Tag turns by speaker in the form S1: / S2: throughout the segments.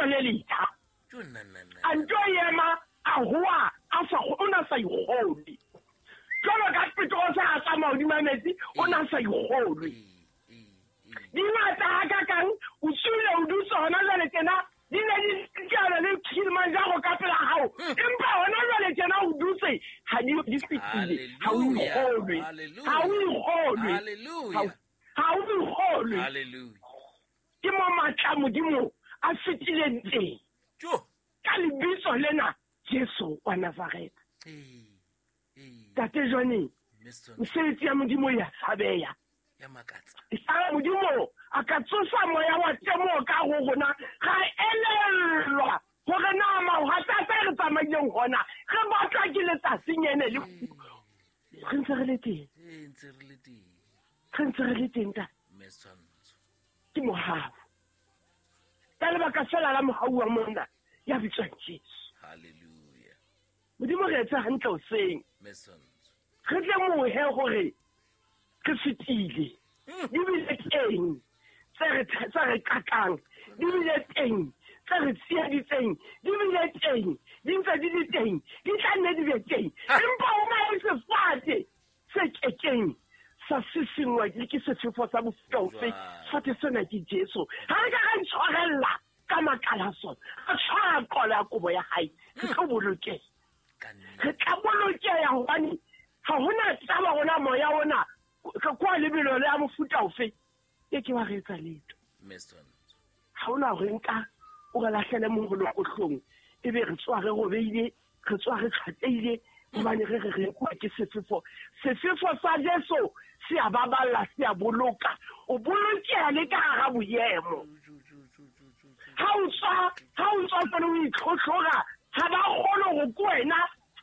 S1: le letjha. A nto ema a hoa a sa o na sa ikgolwe. Jwalo ka Petrose a tsamaya hodima metsi, o na sa ikgolwe. Di ngata hakakang, o tswile o dutse hona jwale tjena, di ne di tjana le Kilimanjaro ka pela hao. Empa hona jwale tjena o dutse, ha di fetile, ha o ikgolwe. Ha o ikgolwe. Ha o ikgolwe. Ke mo matla Modimo a fetileng teng. Ka lebitso lena Jesu wa Nazaretha. Tate Johnny, mesebetsi ya Modimo ya tshabeya. Sa Modimo a ka tsosa moya wa temoho ka ho rona, ra elellwa hore na mahwatata re tsamaileng hona re batlwa ke letsatsing ene le re ntse re le teng. Re ntse re le teng ta. Ke mohau. Ka lebaka fela la mohau wa monna ya bitswang Jesu.
S2: Hallelujah.
S1: Modimo re etse hantle hoseng. Re tle mohe hore re fetile. Di bile teng tse re qakang, di bile teng tse re tsieditseng, di bile teng, di ntse di le teng, di tla nne di be teng. Empa ho na le sefate se kekeng sa sisingwa le ke sefefo sa mofuta ofe. Sefate sena ke Jesu. Ha re ka ra itshwarella ka makala sona, ra tshwara qolo ya kobo ya hae, re tlo bolokeha. Re tla bolokeha hobane ha hona taba rona moya ona kwa lebelo le ya mofuta ofe e ke wa re etsa letho. Ha hona hore nka o re lahlele moholokohlong ebe re tswa re robeile, re tswa re tjhateile hobane re re re nkuwa ke sefefo. Sefefo sa Jesu se a baballa, se a boloka. O bolokeha le ka hara boemo. Ha o tswa tsone o itlhotlhora, ha ba kgone ho ke wena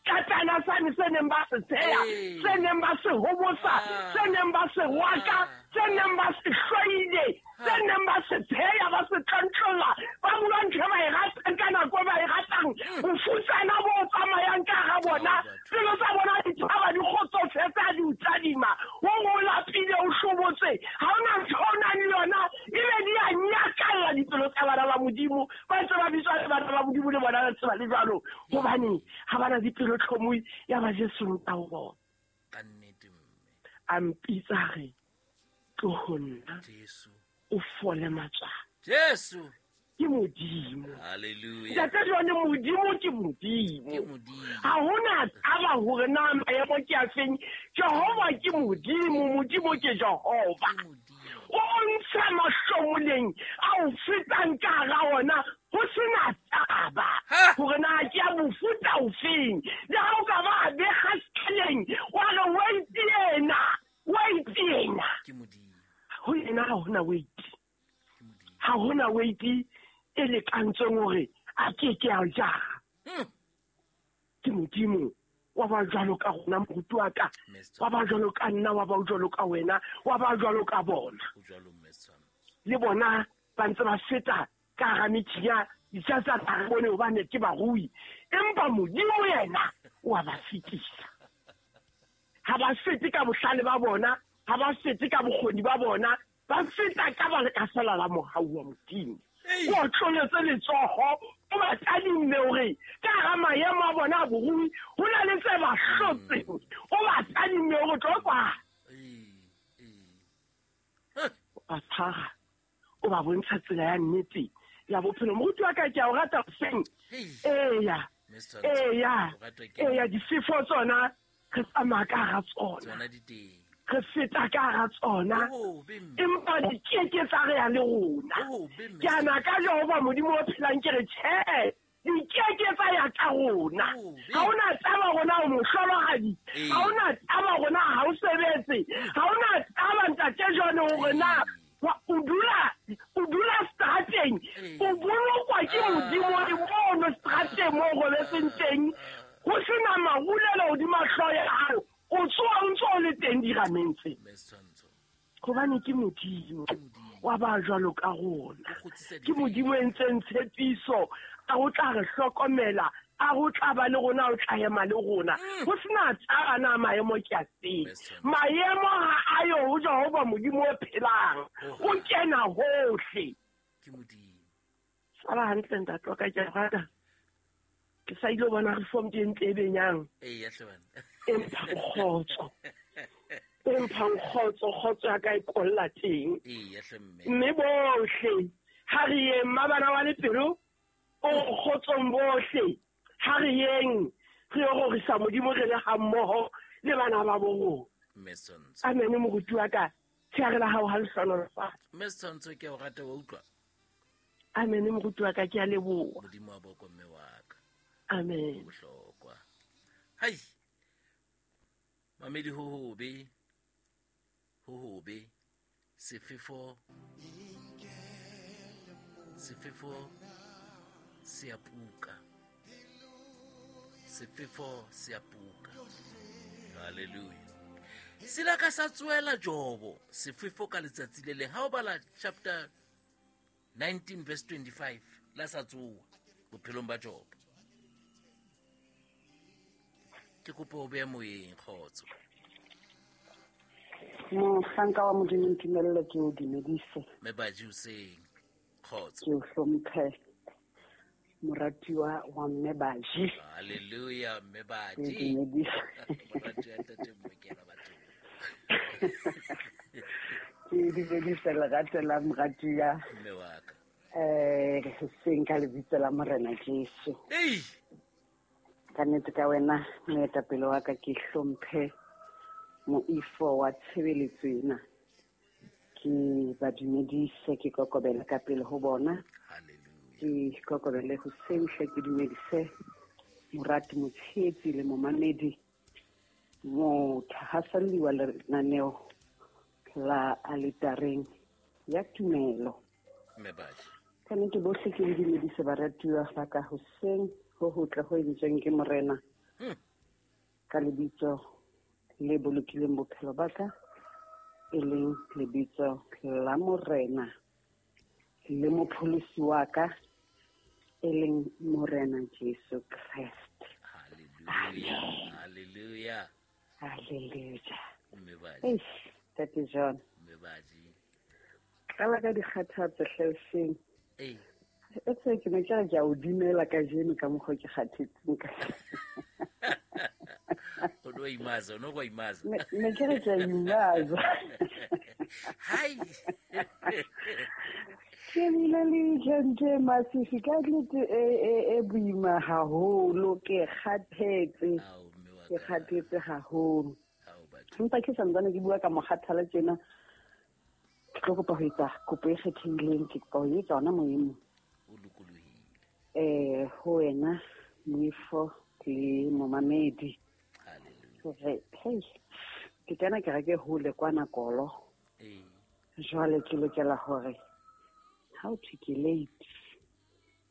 S1: katana sane se neng ba se tsheya, se neng ba se hobosa, se neng ba se rwaka, se neng ba se hloile, se neng ba se tsheya, ba se tlontlolla, ba bua ntho e ba e ratang ka nako e ba e ratang. Bofutsana bo tsamayang ka hara bona, pelo tsa bona di thaba, di kgotsofetse ha di o tadima. O o lapile, o hlobotse, ha hona ntho o nang le yona, ebe di a nyakalla dipelo tsa bana ba Modimo. Ba ntse ba bitswa le bana ba Modimo le bona ba tseba le jwalo, hobane ha bana dipelo tlhomohi ya ba Jesu nka ho bona.
S2: Ka nnete mme.
S1: A mpitsa re tlo ho nna.
S2: Jesu.
S1: O fole matswalo.
S2: Jesu.
S1: Ke Modimo.
S2: Hallelujah.
S1: Ntate Jone, Modimo ke Modimo.
S2: Ke Modimo.
S1: Ha hona taba hore na maemo ke a feng. Jehova ke Modimo, Modimo ke Jehova.
S2: Ke Modimo.
S1: O ntsha mahlomoleng a o fetang ka hara ona, ho sena taba hore na ke a mofuta ofeng. Le ha o ka ba a bekga sekaleng, wa re wait yena, wait yena.
S2: Ke Modimo.
S1: Ho yena ha hona wait. Ha hona wait e lekantsweng hore a ke ke a jara. Ke Modimo wa ba jwalo ka rona, moruti wa ka, wa ba jwalo ka nna, wa ba jwalo ka wena, wa ba jwalo ka bona. Le bona ba ntse ba feta ka hara metjhinya, ditjatsa tsa re bone hobane ke barui. Empa Modimo yena o a ba fetisa. Ha ba fete ka bohlale ba bona, ha ba fete ka bokgoni ba bona, ba feta ka baka fela la mohau wa Modimo. O tloletse letsoho, o ba tadimme hore ka hara maemo a bona a borui ho na le tse ba hlotseng. O ba tadimme hore tlo kwa. O ba tshwara, o ba bontsha tsela ya nnete ya bophelo. Moruti wa ka, ke a o rata hoseng. Eya, eya, eya, difefo tsona re tsamaya ka hara tsona. Re feta ka hara tsona. Empa di keke tsa re ya le rona. Ke ana ka Jehova Modimo o phelang ke re tjhe, di keke tsa ya ka rona. Ha hona taba rona o mohlolohadi, ha hona taba rona ha o sebetse, ha hona taba ntate Jone hore na o dula strateng, o bolokwa ke Modimo le mono strateng mo o robetseng teng, ho sena marulelo hodima hlooho ya hao, o tsoha o ntse o le teng dirameng tse. Hobane ke Modimo wa ba jwalo ka rona. Ke Modimo e entseng tshepiso, a ho tla re hlokomela, a ho tla ba le rona, o tla ema le rona. Ho sena taba na maemo ke a feng. Maemo ha a yo ho Jehova Modimo o phelang. O kena hohle.
S2: Ke Modimo.
S1: Sala hantle ntate wa ka, ke a rata. Ke sa ile ho bona reform ke ntle e benyang.
S2: Eya hle bana.
S1: E mphang kgotso. E mphang kgotso, kgotso ya ka e kolla teng.
S2: Eya hle mme.
S1: Mme bohle ha re yeng, mmabana wa lepelo o kgotsong bohle. Ha re yeng re yo rorisa Modimo re le ha mmoho le bana ba bo rona.
S2: Mme Setshwantsho.
S1: Amen, moruti wa ka. Tsheare la hao ha le hlohonolofatse.
S2: Mme Setshwantsho, ke a o rata, wa utlwa?
S1: Amen, moruti wa ka, ke a leboha.
S2: Modimo wa boko mme wa ka.
S1: Amen.
S2: Ho bohlokwa. Hai. Mamedi ho hobe. Ho hobe. Sefefo. Sefefo se a puka. Sefefo se a puka. Hallelujah. Sila ka sa tsoela Jobo sefefo ka letsatsi le leng. Ha o bala chapter 19 verse 25 la sa tsoa bophelong ba Jobo. Ke kopa o behe moyeng, kgotso.
S3: Mohlanka wa Modimo, ntumelle ke o dumedise.
S2: Mme Baji hoseng, kgotso.
S3: Ke o hlomphe, moratuwa wa Mme Baji.
S2: Hallelujah, Mme Baji.
S3: Ke dumedise.
S2: Moratuwa ntate Mmokela batho.
S3: Ke dumedise lerato la moratuwa.
S2: Mme wa ka.
S3: Hoseng ka lebitso la Morena Jesu.
S2: Ei!
S3: Ka nnete ka wena, moetapele wa ka, ke hlomphe moifo wa tshebeletso ena. Ke ba dumedise, ke kokobele ka pele ho bona.
S2: Hallelujah.
S3: Ke kokobele hoseng hle, ke dumedise morati, motshehetsi le momamedi, mothahaselli wa lenaneo la aletareng ya tumelo.
S2: Mme Baji.
S3: Ka nnete bohle ke le dumedise baratuwa ba ka hoseng ho hotle ho entsweng ke Morena. Ka lebitso le bolokileng bophelo ba ka, e leng lebitso la Morena le mopholosi wa ka, e leng Morena Jesu Kreste.
S2: Hallelujah. Hallelujah.
S3: Hallelujah.
S2: Mme Baji.
S3: Eish, Ntate John.
S2: Mme Baji.
S3: Qala ka dikgathatso hle hoseng.
S2: Ee.
S3: E tse ke ne ke re ke a o dumela kajeno ka mokgwa o ke kgathetseng ka
S2: O no imaza, o no go imaza.
S3: Ne ke re ke a imaza.
S2: Hai.
S3: Ke bile le weekend e masisi ka nnete e boima haholo, ke kgathetse.
S2: Ao, mme wa
S3: Ke
S2: ka.
S3: kgathetse haholo.
S2: Ao, batho.
S3: Empa ke santsane ke bua ka mokgathala tjena, ke tlo kopa ho etsa kopo e kgethehileng, ke kopa ho etsa hona moyeng.
S2: O lokolohile.
S3: Ho wena, moifo le momamedi.
S2: Hallelujah.
S3: Hore, hei, ke kena kereke hole kwana Kolo.
S2: Ee.
S3: Jwale ke lokela hore ha o thwe ke late,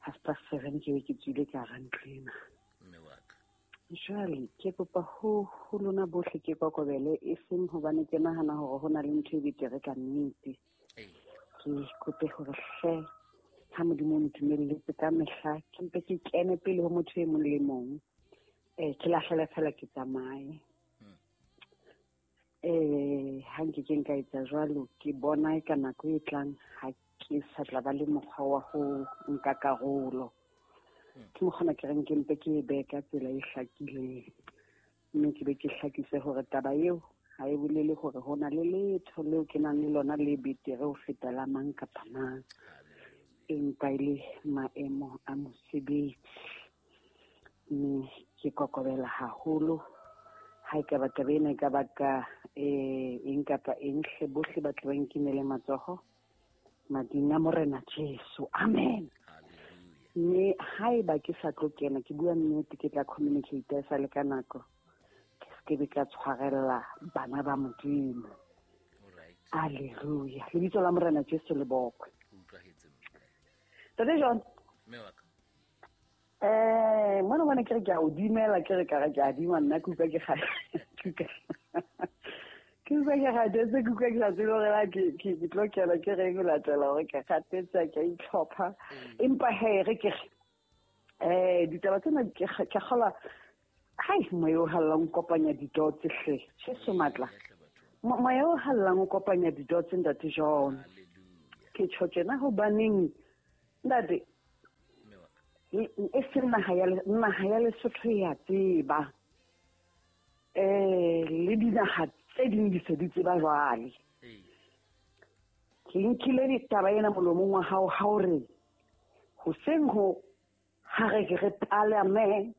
S3: 7:30 ke be ke tswile ka hara ntlo ena.
S2: Mme wa ka.
S3: Jwale ke kopa ho lona bohle ke kokobele, e seng hobane ke nahana hore ho na le ntho e betere ka nnete.
S2: Ee.
S3: Ke kope hore hle, ha Modimo o ntumelletse ka mehla, ke mpe ke kene pele ho motho e mong le mong. Ke lahlele fela ke tsamaye. Ha nke ke nka etsa jwalo, ke bona e ka nako e tlang ha ke sa tla ba le mokgwa wa ho nka karolo. Ke mokgwa ona ke reng ke mpe ke e behe ka tsela e hlakileng. Mme ke be ke hlakise hore taba eo ha e bolele hore ho na le letho leo ke nang le lona le betere ho feta la mang kapa mang. Empa e le maemo a mosebetsi. Mme ke kokobela haholo. Ha ekaba taba ena e ka baka, eng kapa eng, hle bohle ba tle ba nkinele matsoho mading a Morena Jesu. Amen.
S2: Hallelujah.
S3: Mme haeba ke sa tlo kena, ke bua nnete, ke tla communicate e sa le ka nako. Ke se ke be ka tshwarella bana ba Modimo.
S2: All right.
S3: Hallelujah. Lebitso la Morena Jesu le bokwe.
S2: Ho utlwahetse mme.
S3: Ntate John.
S2: Mme wa ka.
S3: Mona mona ke re ke a o dumela, ke re ka re ke a dima nna, ke utlwa ke ke utlwa ke kgathetse, ke utlwa ke sa tsebe hore na ke tlo kena ke reng ho latela hore ke kgathetse, ke a itlhopha. Empa hee, re ke re, ditaba tsena ke kgolwa, hai, moya o hallang o kopanya di-dots hle. Jesu matla. Moya o hallang o kopanya di-dots, Ntate John.
S2: Hallelujah.
S3: Ke tjho tjena hobaneng, ntate, E seng naha ya Lesotho ya tseba. Le dinaha tse ding di se di tseba jwale. Ke nkile ditaba ena molomong wa hao ha o re hoseng ho ha re ke re palame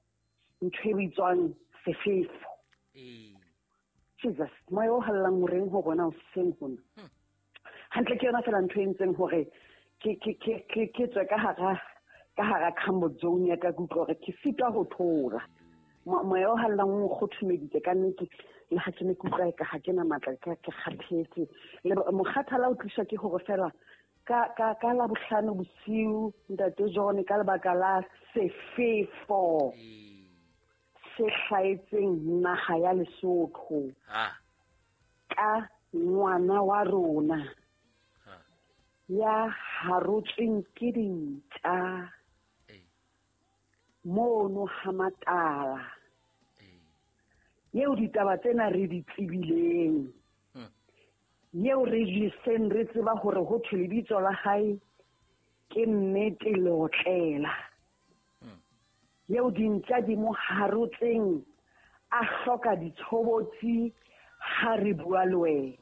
S3: ntho e bitswang sefefo. Jesus, moya o hallang o reng ho rona hoseng hona. Hantle ke yona fela ntho e ntseng hore ke tswe ka hara comfort zone ya ka, ke utlwa hore ke sitwa ho thola. Moya o hallang o nkgothomeditse ka nnete, le ha ke ne ke utlwa eka ha ke na matla, ke kgathetse. Le mokgathala o tliswa ke hore fela ka Labohlano bosiu ntate John, ka lebaka la sefefo se hlahetseng naha ya Lesotho ka ngwana wa rona ya harotsweng ke dintja mono ha Matala, eo ditaba tsena re di tsebileng, eo re di seng re tseba hore ho thwe lebitso la hae ke Nnete Leotlela, eo dintja di mo harotseng a hloka ditshobotsi ha re bua le wena,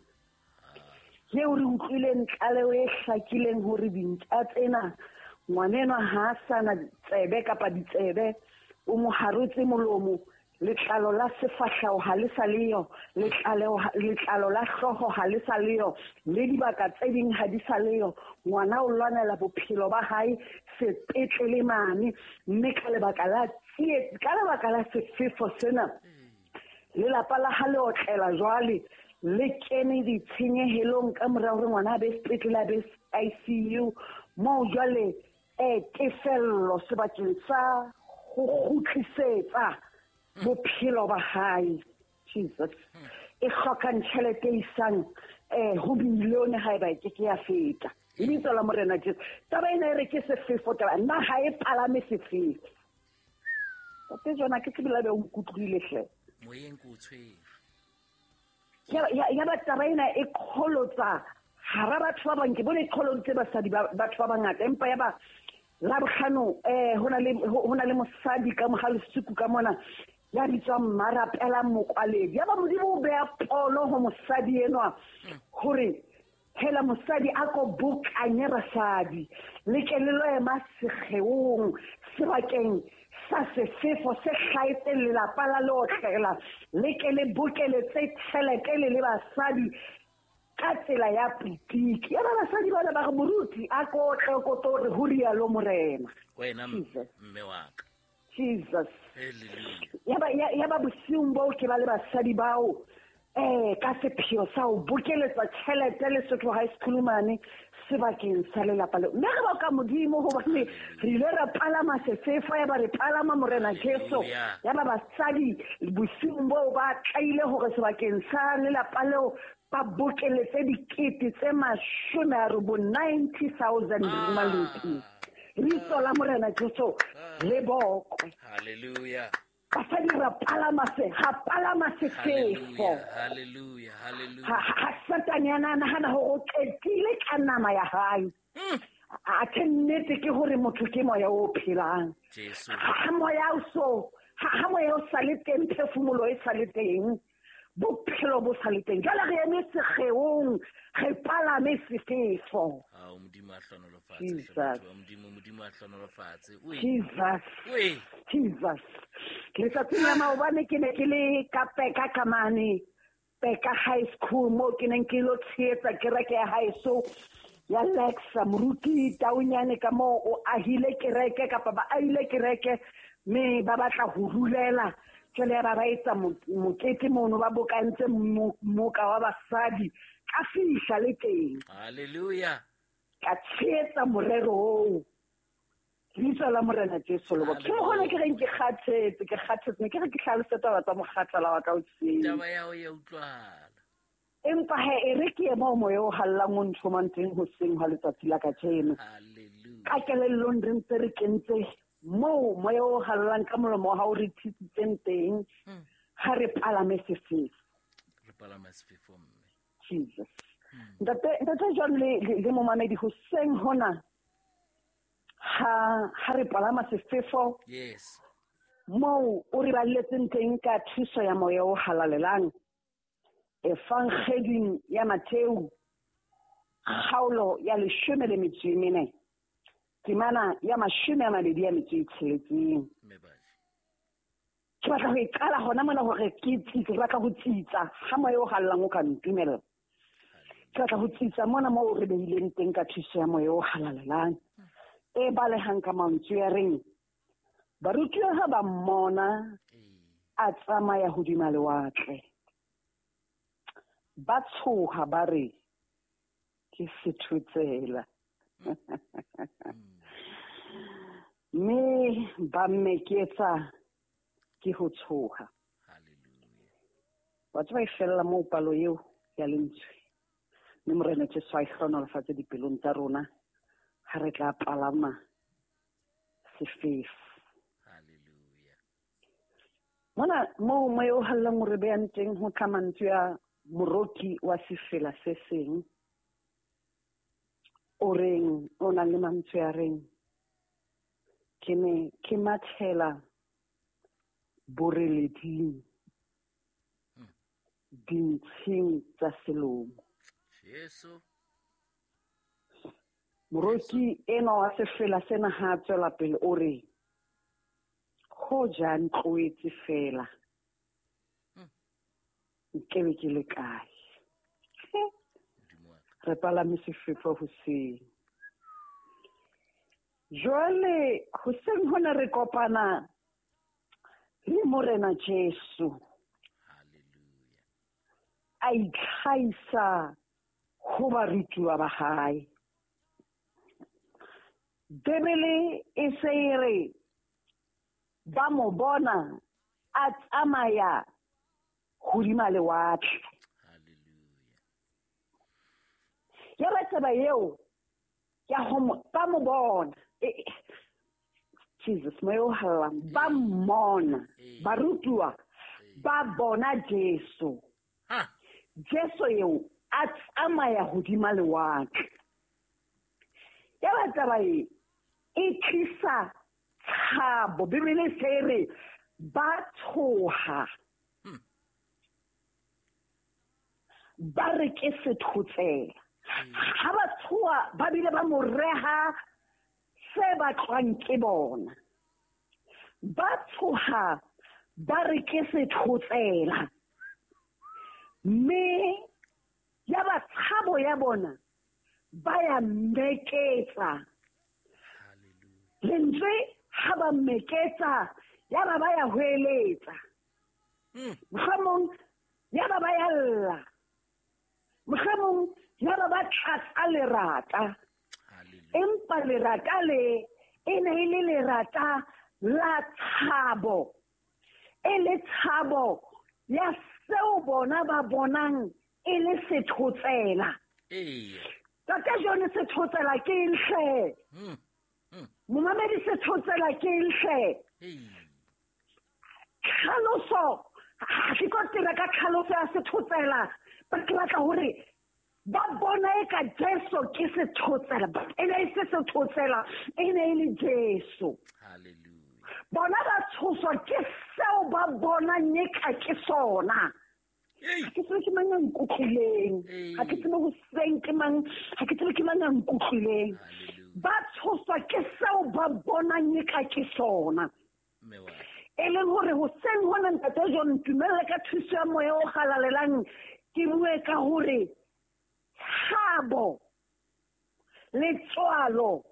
S3: eo re utlwileng tlaleho e hlakileng hore dintja tsena ngwanenwa ha a sana tsebe kapa ditsebe, o mo harotse molomo, letlalo la sefahleho ha le sa leyo, letlalo la hlooho ha le sa leyo, le dibaka tse ding ha di sa leyo. Ngwana o lwanela bophelo ba hae sepetlele mane, mme ka lebaka la tsietsi, ka lebaka la sefefo sena, lelapa la ha le otlela jwale le kene ditshenyehelong ka mora hore ngwana a be sepetlele, a be ICU, moo jwale tefello sebakeng sa ho kgutlisetsa bophelo ba hae, Jesus, e hlokang tjhelete e isang ho bilione haeba e ke ke ya feta. Lebitso la Morena Jesu. Taba ena e re ke sefefo, taba nna ha e palame sefefo. Tate John, ke tsebe la be o nkutlwile hle.
S2: Moyeng ke o tshwere.
S3: Ya ba taba ena e qholotsa hara batho ba bang, ke bone e qholoditse basadi ba batho ba bangata, empa ya ba Labohlano ho na le mosadi ka moha Lesuku ka mona ya bitswang Mmarapela Mokwaledi. Ya ba Modimo o beha pono ho mosadi enwa hore hela mosadi a ko bokanye basadi le ke le lo ema sekgeong sebakeng sa sefefo se hlahetseng lelapa la leotlela, le ke le bokeletse tjhelete le le basadi ka tsela ya politiki. Ya ba basadi bana ba re moruti a ko tle ko tlo re ho rialo Morena.
S2: Wena mme wa ka.
S3: Jesus. Ya ba bosiung boo ke ba le basadi bao ka sepheo sa ho bokeletsa tjhelete Lesotho High School mane sebakeng sa lelapa leo. Mme re boka Modimo hobane re ile ra palama sefefo, ya ba re palama Morena Jesu. Ya ba basadi bosiung boo ba tlaile hore sebakeng sa lelapa leo ba bokeletse dikete tse 90,000 maluti. Lebitso la Morena Jesu le bokwe.
S2: Hallelujah.
S3: Basadi ra palama sefefo.
S2: Hallelujah, hallelujah.
S3: Ha Satane a nahana hore o qetile ka nama ya hae. Athe nnete ke hore motho ke moya o phelang. Ha moya o so, ha moya o sa le teng, phefumolo e sa le teng, bophelo bo sa le teng. Jwale re eme sekgeong, re palame sefefo.
S2: Modimo a hlonolofatse, Modimo a hlonolofatse.
S3: Jesus. Jesus. Letsatsing la maobane ke ne ke le ka Peka kamane, Peka High School, moo ke neng ke lo tshehetsa kereke ya haeso ya Lexa. Moruti Taunyane ka moo o ahile kereke kapa ba ahile kereke, mme ba batla ho rulela. Jwale ba ba etsa mokete mono, ba bokantse moka wa basadi. Ka fihla le teng.
S2: Hallelujah.
S3: Ka tshehetsa morero oo. Lebitso la Morena Jesu le bokwe. Ke mokgona ke reng ke kgathetse, ne ke re ke hlalose taba tsa mokgathala wa ka hoseng.
S2: Taba ya hao ya utlwahala.
S3: Empa he e re ke ema moya o hallang o nthomang teng hoseng hwa letsatsi la kajeno.
S2: Hallelujah.
S3: Ka kelellong re ntse re kentse moo moya o hallang ka molomo wa hao re thisitseng teng, ha re palame sefefo.
S2: Re palame sefefo mme.
S3: Jesus. Ntate John le momamedi hoseng hona, Ha re palama sefefo.
S2: Yes.
S3: Moo o re balletseng teng ka thuso ya moya o halalelang. Evangeding ya Mattheu, kgaolo ya 14, temana ya 26. Ke batla ho e qala hona mona hore ke tsitse, ke batla ho tsitsa ha moya o halalelang o ka ntumella. Ke batla ho tsitsa mona moo re behileng teng ka thuso ya moya o halalelang. E balehang ka mantswe a reng, barutuwa ha ba mmona a tsamaya hodima lewatle, ba tshoha ba re ke sethotsela. Mme ba mmeketsa ke ho tshoha. Wa tseba e fella moo palo eo ya lentswe. Mme Morena Jesu a e hlohonolofatse dipelong tsa rona ha re tla palama sefefo. Mona moo moya o hallang o re behang teng ho tla mantswe a moroki wa sefela se seng o reng, o nang le mantswe a reng, ke ne ke mathela boreleding dintshing tsa selomo.
S2: Jesu.
S3: Moroki enwa wa sefela sena ha tswela pele o re, hoja ntloetse fela nkebe ke le kae. Re palame sefefo hoseng. Jwale hoseng hona re kopana le Morena Jesu. A itlhahisa ho barutuwa ba hae. Bibele e se e re ba mo bona a tsamaya hodima lewatle. Ya ba taba eo ya ho ba mo bona. Jesus moya o hallang, ba mmona, barutuwa ba bona Jesu. Jesu eo a tsamaya hodima lewatle. Ya ba taba e tlisa tshabo. Bibele se re ba tshoha. Ba re ke sethotsela. Ha ba tshoha ba bile ba mo reha se batlwang ke bona. Ba tshoha ba re ke sethotsela. Mme ya ba tshabo ya bona ba ya mmeketsa. Lentswe ha ba mmeketsa ya ba ba ya hweletsa. Mohlomong ya ba ba ya lla. Mohlomong ya ba ba tlatsa lerata. Empa lerata le e ne e le lerata la tshabo. E le tshabo ya seo bona ba bonang e le sethotsela. Tata jone sethotsela ke eng hle? Momamedi sethotsela ke eng hle? Tlhaloso, ha ke tlo tira ka tlhaloso ya sethotsela, ba ke batla hore ba bona e ka Jesu ke sethotsela, e ne e se sethotsela, e ne e le Jesu. Bona ba tshoswa ke seo ba bonang e ka ke sona. Ha ke tsebe ke mang a nkutlwileng. Ha ke tsebe hoseng ke mang, ha ke tsebe ke mang a nkutlwileng. Ba tshoswa ke seo ba bonang e ka ke sona. E leng hore hoseng hona Ntate John, ntumelle ka thuso ya moya o halalelang ke bue ka hore tshabo letswalo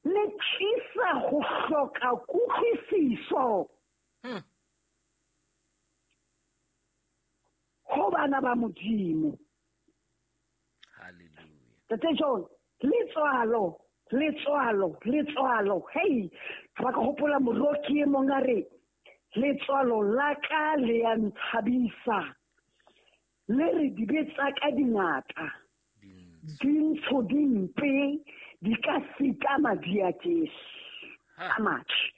S3: le tlisa ho hloka kutlwisiso ho bana ba Modimo. Ntate John, letswalo, letswalo, letswalo. Hey, ba ka hopola moroki e mong a re, letswalo la ka le ya ntshabisa, le re dibe tsa ka dingata, dintsho dimpe di ka sita madi a Jesu a matle.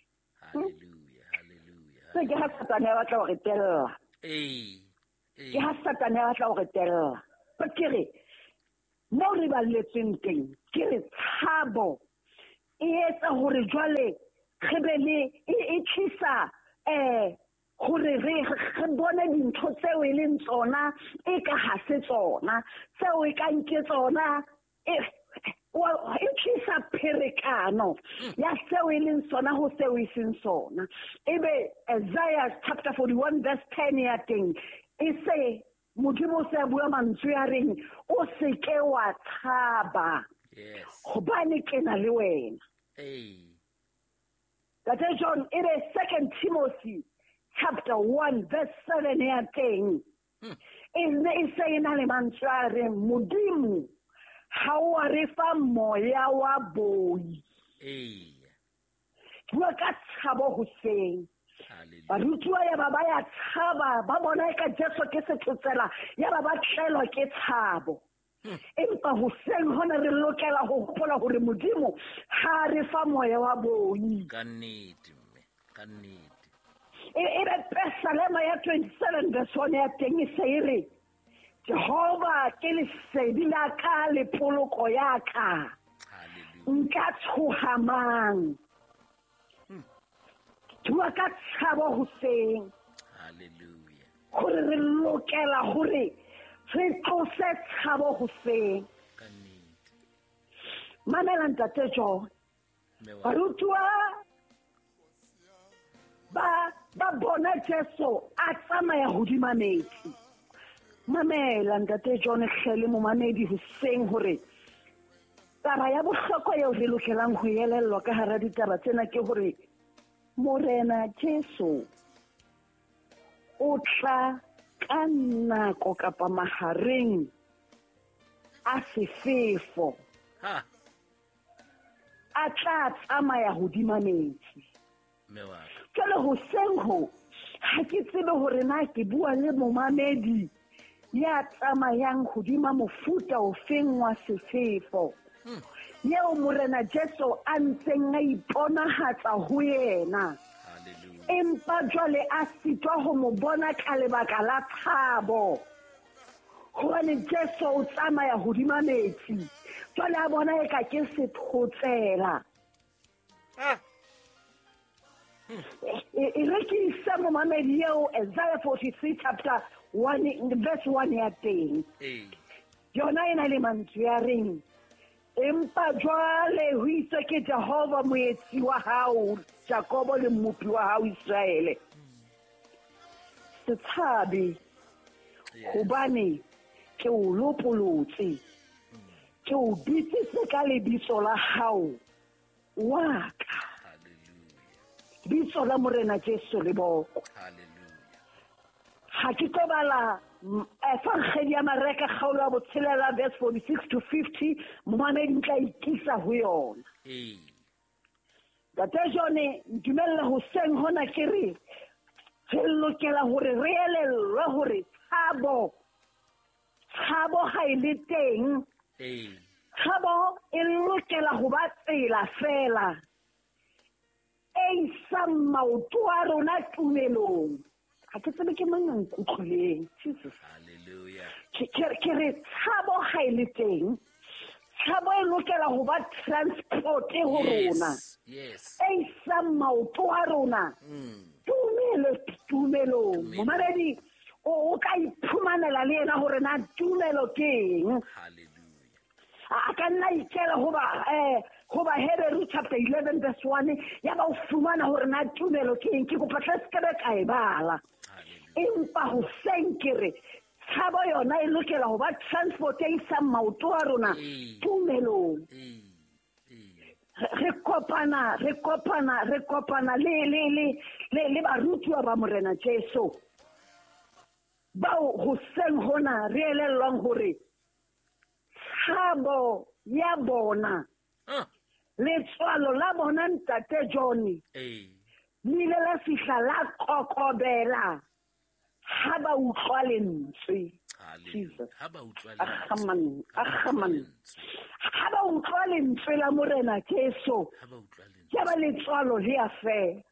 S3: Se ke ha Satane a batla ho re tella. Ke ha Satane a batla ho re tella. Ba ke re, mo re balletsweng teng, ke re tshabo
S1: E etsa hore jwale re be le e tlisa hore re bone dintho tseo e leng tsona e ka ha se tsona, tseo e kang ke tsona, e tlisa pherekano ya seo e leng sona ho seo e seng sona. Ebe Isaiah chapter 41 verse 10 ya teng e se Modimo se bua mantswe a reng o se ke wa tshaba, hobane ke na le wena. Tate John, e be 2 Timothy chapter 1 verse 7 ya teng e ne e se e na le mantswe a reng Modimo ha o a re fa moya wa boi. Bua ka tshabo hoseng. Barutiwa ya ba ba ya tshaba, ba bona ka Jesu ke sethotsela, ya ba ba tlelwa ke tshabo. Empa hoseng hona re lokela ho hopola hore Modimo ha re fa moya wa boi.
S2: Ka nnete mme, ka nnete.
S1: E be Pesalema ya 27 verse 1 ya teng e se e re Jehova ke lesedi la ka le poloko ya ka. Nka tshoha mang? Bua ka tshabo hoseng.
S2: Hallelujah.
S1: Hore re lokela hore re tlose tshabo hoseng.
S2: Ka nnete.
S1: Mamela ntate John. Barutiwa ba bona Jesu a tsamaya hodima metsi. Mamela ntate John hle le momamedi hoseng hore taba ya bohlokwa eo re lokelang ho elellwa ka hara ditaba tsena ke hore Morena Jesu o tla ka nako kapa mahareng a sefefo. A tla tsamaya hodima metsi. Jwale hoseng ho ha ke tsebe hore na ke bua le momamedi ya tsamayang hodima mofuta ofeng wa sefefo. Yeo Morena Jesu a ntseng a iponahatsa ho yena. Empa jwale a sitwa ho mo bona ka lebaka la tshabo. Hobane Jesu o tsamaya hodima metsi. Jwale a bona e ka ke sethotsela. E re ke ise momamedi eo Isaiah 43 chapter 1 verse 1 ya teng. Yona e na le mantswe a reng empa jwale ho itswe ke Jehova moetsi wa hao Jakobo le mmopi wa hao Israele. Se tshabe, hobane ke o lopolotse, ke o bitsitse ka lebitso la hao wa ka. Bitso la Morena Jesu le boko. Ha ke tlo bala Evangeli ya Mareka kgaolo ya botshelela verse 46 to 50, momamedi ntla ikisa ho yona. Ntate John, ntumelle hoseng hona ke re re lokela hore re elellwe hore tshabo ha e le teng. Tshabo e lokela ho ba tsela fela e isang maoto a rona tumelong. Ha ke tsebe ke mang a nkutlwileng. Jesus.
S2: Hallelujah.
S1: Ke re tshabo ha e le teng. Tshabo e lokela ho ba transport ho rona.
S2: Yes.
S1: E isang maoto a rona. Tumelong. Momamedi o ka iphumanela le yena hore na tumelo ke eng.
S2: Hallelujah.
S1: A ka nna ikela hoba Heberu chapter 11 verse 1 ya ba o fumana hore na tumelo ke eng. Ke kopa tle se ke ka e bala. Empa hoseng ke re tshabo yona e lokela ho ba transport e isang maoto a rona tumelong. Re kopana le barutiwa ba Morena Jesu bao hoseng hona re elellwang hore tshabo ya bona letswalo la bona ntate John le ile la fihla la kokobela ha ba utlwa lentswe.
S2: Ha ba utlwa
S1: Ha ba utlwa lentswe la Morena Jesu, ya ba letswalo le a fela.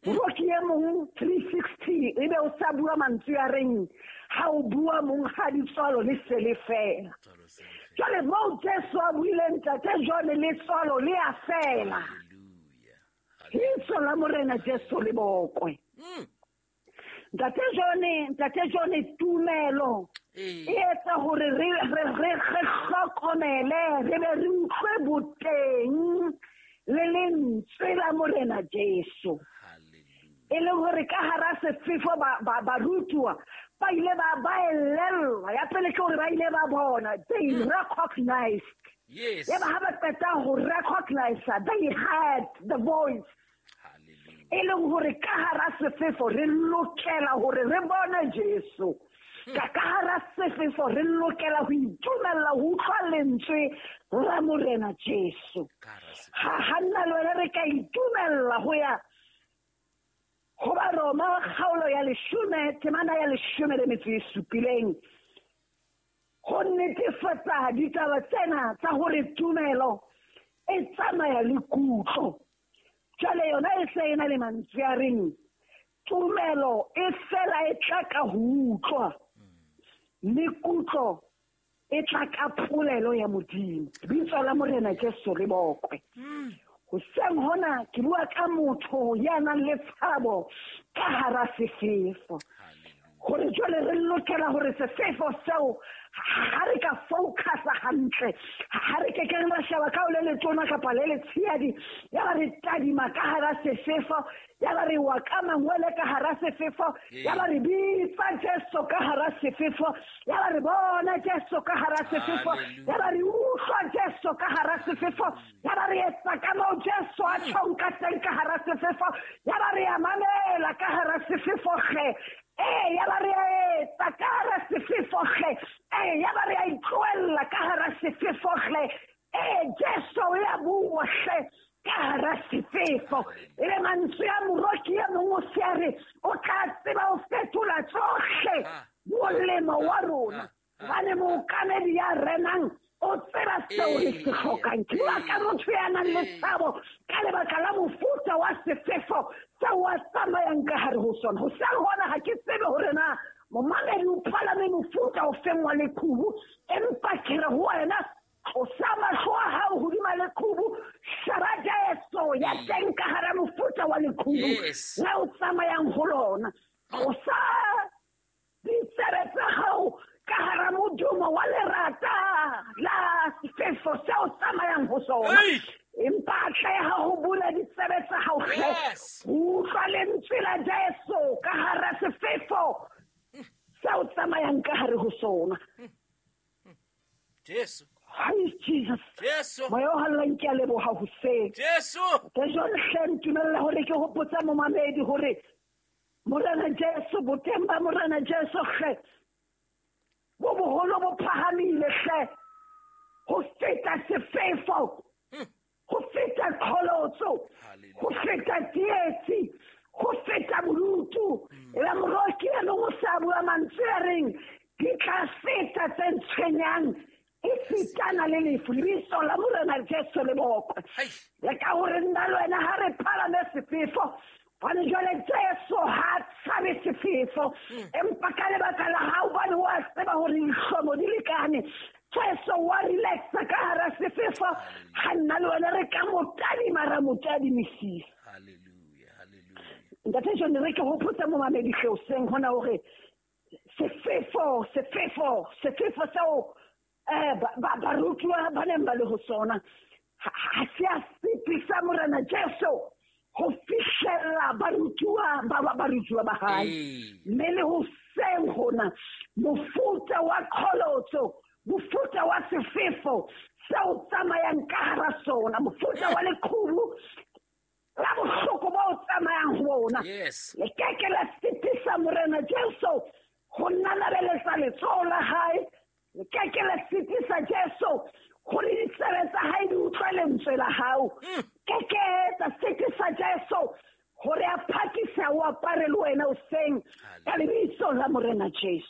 S1: Moroki e mong 360 ebe o sa bua mantswe a reng ha o bua mong ha letswalo le se le fela. Jwale moo Jesu a buileng ntate jwale letswalo le a fela. Lebitso la Morena Jesu le bokwe. Ntate John tumelo e etsa hore re hlokomele, re be re utlwe boteng le lentswe la Morena Jesu. E leng hore ka hara sefefo barutuwa ba ile ba elellwa. Ya pele ke hore ba ile ba bona, they recognized.
S2: Yes.
S1: Ya ba ha ba qeta ho recognize, they heard the voice. E leng hore ka hara sefefo re lokela hore re bone Jesu. Ka hara sefefo re lokela ho itumella ho utlwa lentswe la Morena Jesu. Ha nna le wena re ka itumella ho ya ho Baroma kgaolo ya 10 temana ya 17 ho netefatsa ditaba tsena tsa hore tumelo e tsamaya le kutlo. Jwale yona e se e na le mantswe a reng tumelo e fela e tla ka ho utlwa, mme kutlo e tla ka polelo ya Modimo. Bitso la Morena Jesu le bokwe. Hoseng hona ke bua ka motho ya nang le tshabo ka hara sefefo. Hore jwale re lokela hore sefefo seo ha re ka focusa hantle, ha re ke ke ra sheba ka o le letona kapa le letshehadi, ya ba re tadima ka hara sefefo, ya ba re wa ka mangwele ka hara sefefo, ya ba re bitsa Jesu ka hara sefefo, ya ba re bona Jesu ka hara sefefo, ya ba re utlwa Jesu ka hara sefefo, ya ba re etsa ka moo Jesu a tjhong ka teng ka hara sefefo, ya ba re a mamela ka hara sefefo hle. Ya ba re etsa ka hara sefefo hle. Ya ba re a itlohella ka hara sefefo hle. Jesu ya bua hle ka hara sefefo. E le mantswe a moroki e mong o se a re o tla tseba ho fetola tsohle molemo wa rona. Hobane mookamedi ya renang o tseba seo re se hlokang. Ke bua ka motho ya nang le tshabo ka lebaka la mofuta wa sefefo seo a tsamayang ka hare ho sona. Hoseng hona ha ke tsebe hore na momamedi o palame mofuta o feng wa leqhubu, empa ke re ho wena tlosa mahlo a hao hodima leqhubu, sheba Jesu ya teng ka hara mofuta wa leqhubu la o tsamayang ho lona. Tlosa ditsebe tsa hao ka hara modumo wa lerata la sefefo seo tsamayang ho sona. Empa atleha ho bula ditsebe tsa hao hle, utlwa lentswe la Jesu ka hara sefefo seo tsamayang ka hare ho sona.
S2: Jesu.
S1: Hi Jesus.
S2: Jesu.
S1: Moya o hallang ke a leboha hoseng.
S2: Jesu.
S1: Ke jwale hle ntumella hore ke hopotsa momamedi hore Morena Jesu, boteng ba Morena Jesu hle bo boholo bo phahamile hle ho feta sefefo, ho feta qholotso, ho feta tsietsi, ho feta bodutu. E ba moroki e mong o sa bua mantswe a reng di tla feta tse ntshwenyang e fetana le lefu. Lebitso la Morena Jesu le bokwe. Le ka hore nna le wena ha re palame sefefo, hobane jwale Jesu ha tshabe sefefo, empa ka lebaka la hao hobane wa tseba hore dihlomo di lekane, Jesu wa relaxa ka hara sefefo. Ha nna le wena re ka mo tadima ra mo tadimisisa. Ntate John, re ke hopotsa momamedi hle hoseng hona hore sefefo seo barutuwa ba neng ba le ho sona ha se a sitisa Morena Jesu ho fihlella barutuwa ba hae. Mme le hoseng hona mofuta wa qholotso, mofuta wa sefefo seo tsamayang ka hara sona, mofuta wa leqhubu la bohloko bo tsamayang ho bona, le keke la sitisa Morena Jesu ho nanabeletsa letsoho la hae. Le keke la sitisa Jesu hore ditsebe tsa hae di utlwe lentswe la hao. Keke tsa sitisa Jesu hore a phakise o apare le wena hoseng ka lebitso la Morena Jesu.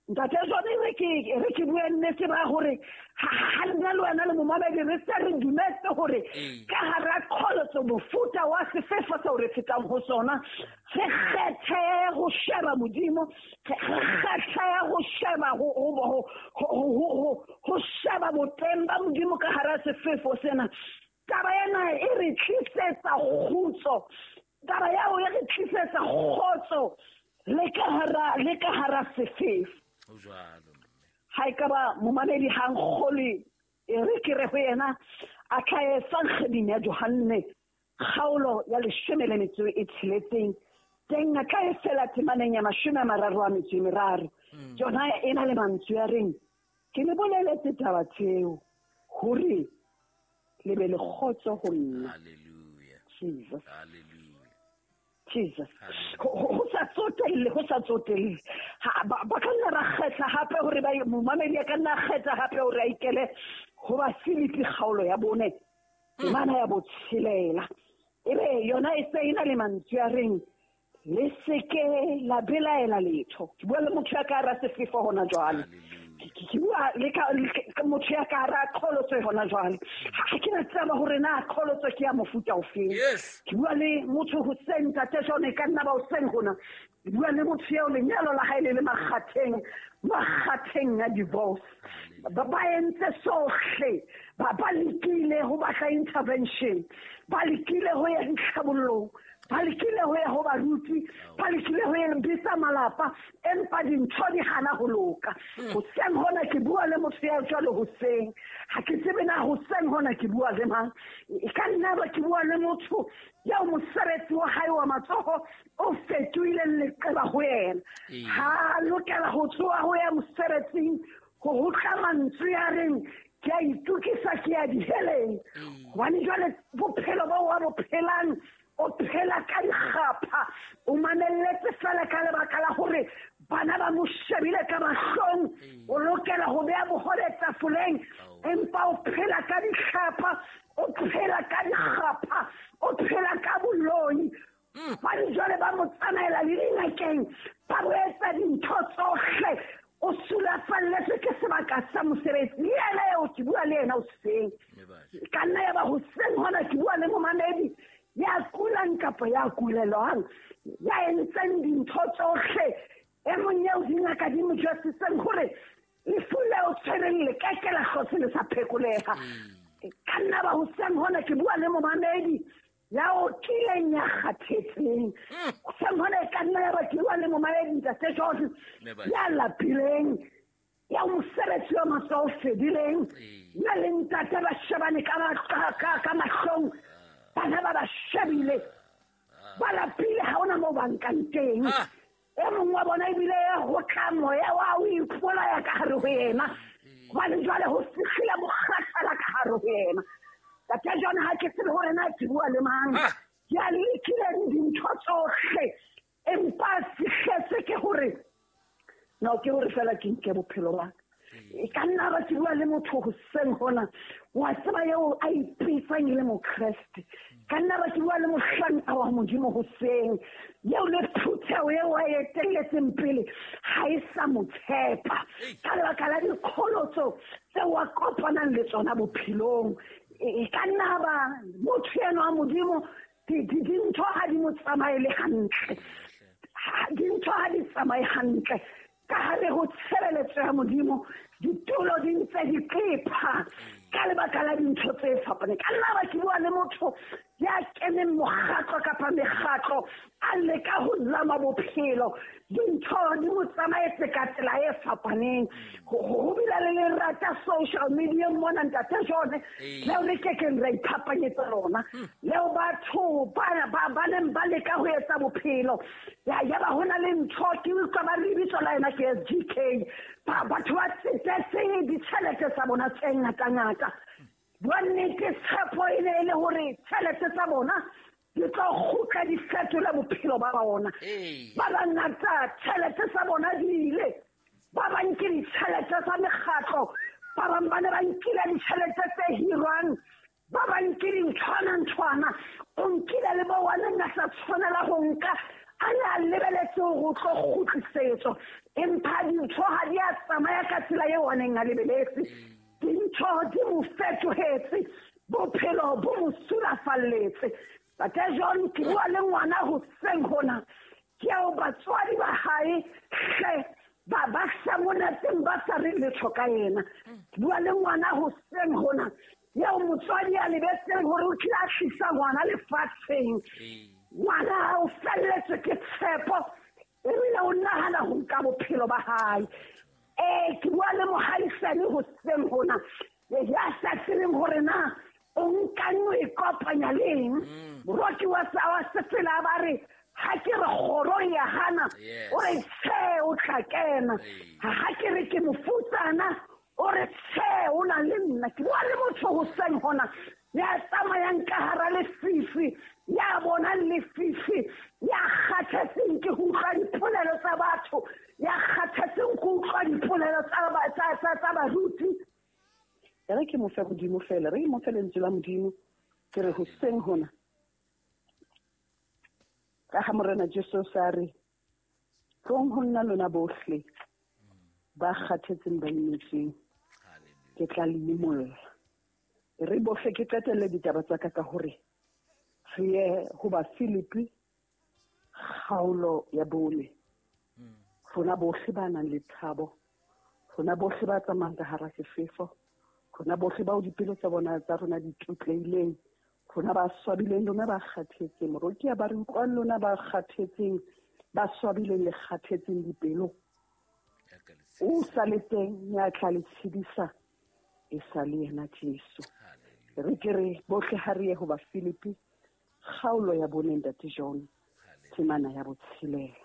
S1: Ntate John, re ke bue nnete ba hore ha nna le wena le momamedi re se re dumetse hore ka hara qholotso mofuta wa sefefo seo re fetang ho sona, re kgethe ho sheba Modimo, re kgethe ho sheba ho sheba boteng ba Modimo ka hara sefefo sena. Taba ena e re tlisetsa kgutso, taba yao e re tlisetsa kgotso le ka hara sefefo. Ha e ka ba momamedi ha nkgolwe, e re ke re ho yena a tla e Evangeding ya Johanne kgaolo ya 16 teng a tla e fela temaneng ya 33. Yona e na le mantswe a reng, ke le boleletse taba tseo hore le be le kgotso ho nna.
S2: Hallelujah.
S1: Jesus.
S2: Hallelujah.
S1: Jesus. Ho sa tsotelle. Ba ka nna ba kgetha hape hore ba momamedi a ka nna kgetha hape hore a ikele ho ba Filipi kgaolo ya 4 temana ya 6. Ebe yona e se ena le mantswe a reng, le seke la belaela letho. Ke bua le motho ya ka hara sefefo hona jwale. Ke bua le ka motho ya ka hara qholotso hona jwale. Ha ke na tseba hore na qholotso ke ya mofuta ofeng. Ke bua le motho hoseng, Ntate John, e ka nna ba hoseng hona. Ke bua le motho eo lenyalo la hae le le makgatheng a divorce. Ba entse sohle, ba lekile ho batla intervention, ba lekile ho ya ditlhabollong, ba lekile ho ya ho baruti, ba lekile ho ya bitsa malapa, empa dintho di hana ho loka. Hoseng hona ke bua le motho ya jwalo hoseng. Ha ke tsebe na hoseng hona ke bua le mang. E ka nna ba ke bua le motho ya mosebetsi wa hae wa matsoho o fetohileng leqeba ho yena. Ha lokela ho tsoha ho ya mosebetsing, ho tla mantswe a reng, ke a itokisa ke ya diheleng. Hobane jwale bophelo bo wa bo phelang, o phela ka dikgapha, o mamelletse fela ka lebaka la hore bana ba mo shebile ka mahlong, o lokela ho beha bohole tafoleng, empa o phela ka dikgapha, o phela ka dikgapha, o phela ka boloi. Ba jwale ba mo tsamaela le dingakeng, ba bo etsa dintho tsohle, o sulafalletswe ke sebaka sa mosebetsi. Le yena eo ke bua le yena hoseng. Ka nna ya ba hoseng hona ke bua le momamedi ya kulang kapa ya kulelwang, ya entseng dintho tsohle. E mong eo dingaka di mo jwetsitseng hore lefu leo tshwereng le ke ke la hlotse le sa phekoleha. Ka nna ba hoseng hona ke bua le momamedi ya otileng ya kgathetseng. Hoseng hona e ka nna ya ba ke bua le momamedi Ntate John ya lapileng, ya mosebetsi wa matsoho o fedileng, ya le ntate ba shebane ka mahlong, bana ba ba shebile, ba lapile, ha hona moo ba nkang teng. E mong wa bona ebile ho tla moya wa o ipolaya ka hare ho yena, hobane jwale ho fihlile mokgathala ka hare ho yena. Ntate John, ha ke tsebe hore na ke bua le mang. Ke a lekileng dintho tsohle, empa fihletse ke hore no ke hore fela ke nke bophelo ba ka. E ka nna ba ke bua le motho hoseng hona, wa tseba eo a ipitsang e le Mokreste. Ka nna ba ke bua le mohlanka wa Modimo hoseng, eo le phutheho eo a etelletseng pele ha e sa mo tshepa ka lebaka la dikgolotso tseo a kopanang le tsona bophelong. E ka nna ba motho eno wa Modimo, dintho ha di mo tsamaele hantle, dintho ha di tsamaye hantle ka hare ho tshebeletso ya Modimo, ditulo di ntse di qepha ka lebaka la dintho tse fapaneng. Ka nna ba ke bua le motho ya keneng mokgatlo kapa mekgatlo, a leka ho zama bophelo, dintho di mo tsamaetse ka tsela e fapaneng. Ho bile le lerata social media mona, Ntate John, leo re kekeng ra iphapanyetsa lona, leo batho ba neng ba leka ho etsa bophelo. Ya ba hona le ntho ke utlwa ba re lebitso la yena ke SGK. Batho ba tsetetse ditjhelete tsa bona tse ngatangata. Bua nnete, tshepo e ne e le hore tjhelete tsa bona di tlo kgutla di fetola bophelo ba bona. Ba bangata tjhelete tsa bona di ile, ba bang ke ditjhelete tsa mekgatlo, ba bang ba ne ba nkile ditjhelete tse hirwang, ba bang ke dinthwana-nthwana. O nkile le bo wa neng a sa tshwanela ho nka, A ne a lebeletse hore o tlo kgutlisetswa, empa dintho ha di a tsamaya ka tsela eo a neng a lebeletse. Dintho di mo fetohetse, bophelo bo mo sulafalletse. Ntate John, ke bua le ngwana hoseng hona, ke eo batswadi ba hae hle ba sa monateng ba sa re letho ka yena. Ke bua le ngwana hoseng hona, eo motswadi a lebetseng hore o kile a tlisa ngwana lefatsheng. Ngwana o felletswe ke tshepo, ebile o nahana ho nka bophelo ba hae. Ke bua le mohaisane hoseng hona, ya sa tsebeng hore na o nkang o ikopanya le eng. Moroki wa sefela ba re, ha ke re kgoro ya hana, o re tjhe o tla kena. Ha ke re ke mofutsana, o re tjhe o na le nna. Ke bua le motho hoseng hona ya tsamayang ka hara lefifi, ya bonang lefifi, ya kgathetseng ke ho utlwa dipolelo tsa batho, ya kgathetseng ke utlwa dipolelo tsa baruti.
S3: Re ke mo fe Modimo fela, re mo fe lentswe la Modimo. Ke re hoseng hona, ka ha Morena Jesu sa re, tlong ho nna lona bohle ba kgathetseng ba imetsweng, ke tla le imolla. Re bohle ke qetelle ditaba tsa ka ka hore re ye ho ba Filipi kgaolo ya 4. Rona bohle ba nang le tshabo, rona bohle ba tsamayang ka hara sefefo, rona bohle bao dipelo tsa bona tsa rona di tutleileng, rona ba swabileng, lona ba kgathetseng, moroki ba re utlwang, lona ba kgathetseng, ba swabileng le kgathetseng dipelo. O sa le teng ya tla le tshedisa, e sa le yena Jesu. Re ke re bohle ha re ye ho ba Filipi kgaolo ya 4, Ntate John, temana ya 6.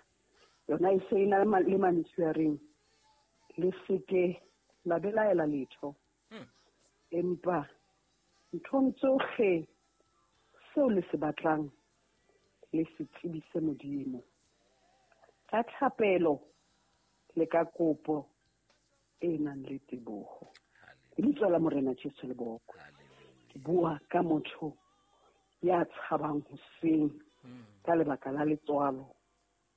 S3: Yona e se e na le mantswe a reng, le seke la belaela letho, empa nthong tsohle seo le se batlang le se tsebise Modimo ka thapelo le ka kopo e nang le teboho. Lebitso la Morena Jesu le bokwe. Ke bua ka motho ya tshabang hoseng ka lebaka la letswalo,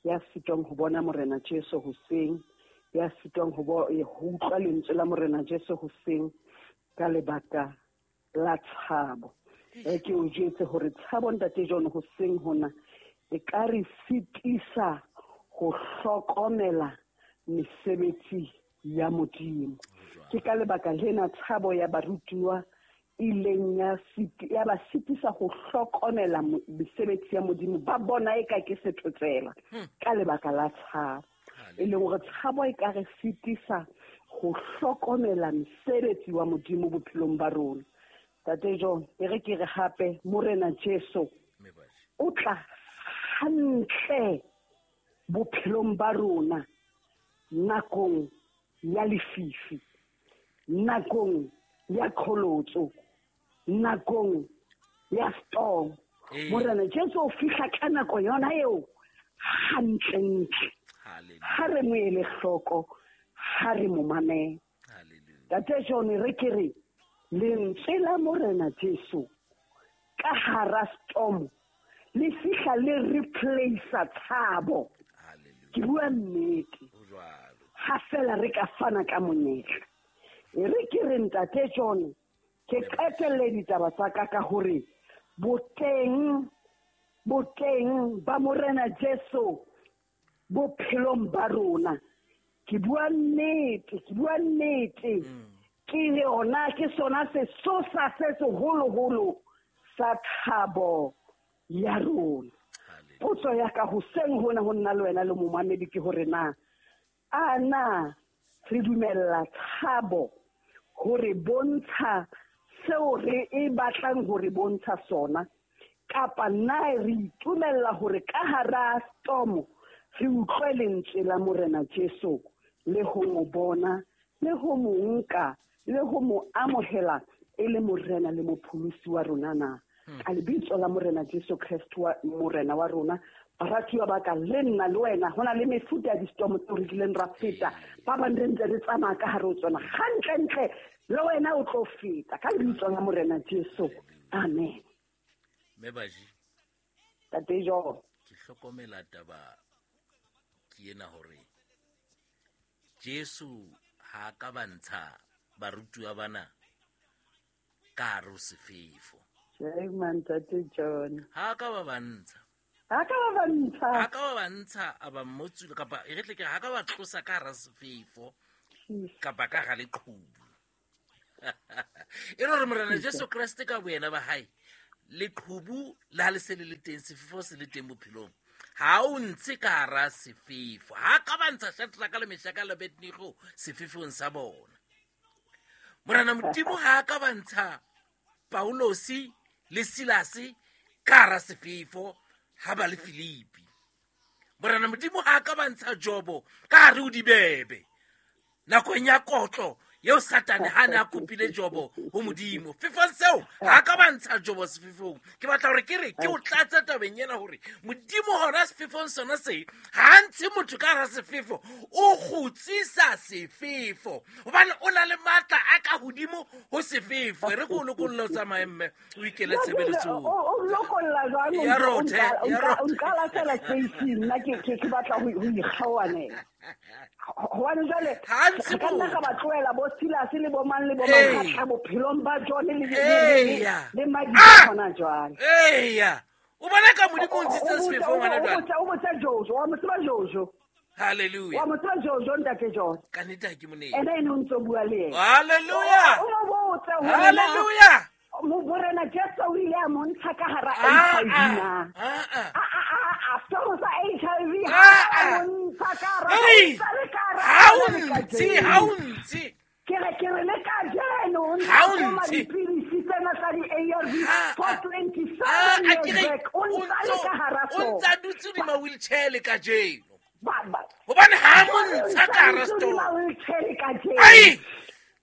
S3: ya sitwang ho bona Morena Jesu hoseng, ya sitwang ho utlwa lentswe la Morena Jesu hoseng ka lebaka la tshabo. Ke o jwetse hore tshabo, Ntate John, hoseng hona e ka re sitisa ho hlokomela mesebetsi ya Modimo. Ke ka lebaka lena tshabo ya barutuwa ileng ya ba sitisa ho hlokomela mesebetsi ya Modimo. Ba bona eka ke sethotsela ka lebaka la tshabo. E leng hore tshabo e ka re sitisa ho hlokomela mesebetsi wa Modimo bophelong ba rona. Ntate John, e re ke re hape Morena Jesu o tla hantle bophelong ba rona nakong ya lefifi, nakong ya kholotso, nakong ya storm. Morena Jesu o fihla ka nako yona eo hantlentle. Ha re mo ele hloko, ha re mo mamele. Ntate John, re ke re lentswe la Morena Jesu ka hara storm le fihla le replace tshabo. Ke bua nnete. Ha fela re ka fana ka monyetla. E re ke re Ntate John, ke qetelle ditaba tsa ka ka hore boteng ba Morena Jesu bophelong ba rona. Ke bua nnete, ke bua nnete. Ke yona, ke sona sesosa se seholoholo sa thabo ya rona. Potso ya ka hoseng hona ho nna le wena le momamedi ke hore na a na re dumella tshabo hore bontsha seo re e batlang hore bontsha sona, kapa na re itumella hore ka hara storm re utlwe lentswe la Morena Jesu le ho mo bona le ho mo nka le ho mo amohela e le Morena le mopholosi wa rona na. Ka lebitso la Morena Jesu Kreste wa Morena wa rona, baratuwa ba ka, le nna le wena ho na le mefuta ya di-storm tseo re kileng ra feta. Ba bang re ntse re tsamaya ka hare ho tsona. Hantlentle le wena o tlo feta ka lebitso la Morena Jesu. Amen.
S2: Mme Baji.
S3: Tate John.
S2: Ke hlokomela taba ke ena hore Jesu ha ka ba ntsha barutuwa bana ka hare ho sefefo.
S3: Tjhe, Ntate John.
S2: Ha ka ba ba ntsha.
S3: Ha ka ba ba ntsha.
S2: Ha ka ba ba ntsha a ba mmotsula kapa e re tle ke ha ka ba tlosa ka hara sefefo kapa ka hara leqhubu. E re hore Morena Jesu Kreste ka boyena ba hae leqhubu le ha le se le le teng, sefefo se le teng bophelong. Ha o ntshe ka hara sefefo. Ha ka ba ntsha Shadraka le Meshaka le Abednego sefefong sa bona. Morena Modimo ha ka ba ntsha Paulosi le Silase ka hara sefefo ha ba le Filipi. Morena Modimo ha ka ba ntsha Jobo ka hare ho dibebe nakong ya kotlo eo Satane ha ne a kopile Jobo ho Modimo. Fefong seo ha ka ba ntsha Jobo sefefong. Ke batla hore ke re ke o tlatse tabeng ena hore Modimo hona sefefong sona se ha ntshe motho ka hara sefefo, o kgutsisa sefefo hobane o na le matla a ka hodimo ho sefefo. E re ke o lokolle o tsamaye mme o ikele tshebeletsong.
S3: O lokolla jwang?
S2: Ya rothe, ya rothe.
S3: O nka lahlela space-ing, nna ke batla ho ikgaoanela. Hobane jwale,
S2: Ha ntse
S3: re ka nna
S2: motho.
S3: ra ba tlohela bo Silas le bo mang le bo mang,
S2: Ee.
S3: ra tla bophelong ba John
S2: Eya.
S3: le Madi
S2: Ah!
S3: hona jwale.
S2: Eya. O bona ka Modimo o ntshitse sefefo ngwana jwale.
S3: O botsa Jojo, wa mo tseba Jojo.
S2: Hallelujah.
S3: Wa mo tseba Jojo, ntate John.
S2: Ka nnete ha ke mo nehe.
S3: Ena ene o ntso bua le yena.
S2: Hallelujah.
S3: O mo botse hore na
S2: Hallelujah.
S3: Morena Jesu o ile a mo ntsha ka hara
S2: Ah,
S3: HIV
S2: ah,
S3: na.
S2: ah, ah.
S3: A soro sa HIV
S2: Ah,
S3: ha a
S2: ah.
S3: mo ntsha ka hara,
S2: Hey!
S3: o ntsa le ka hara
S2: Ha o
S3: le ka
S2: ntshe,
S3: jeno.
S2: ha o ntshe.
S3: Ke re, ke re le ka jeno, o ntse
S2: Ha o
S3: a koma
S2: ntshe.
S3: dipilisi tsena tsa di-A R V
S2: Ah,
S3: for
S2: ah.
S3: 27
S2: Ah, a ke
S3: years
S2: re,
S3: back. O
S2: o
S3: ntsa le ka hara
S2: o ntsa
S3: sona.
S2: dutse hodima wheelchair le kajeno.
S3: Ba, ba.
S2: Hobane ha mo
S3: Jwale o
S2: ntsha
S3: ntsa
S2: ka hara
S3: dutse
S2: store.
S3: hodima wheelchair le kajeno.
S2: Ai!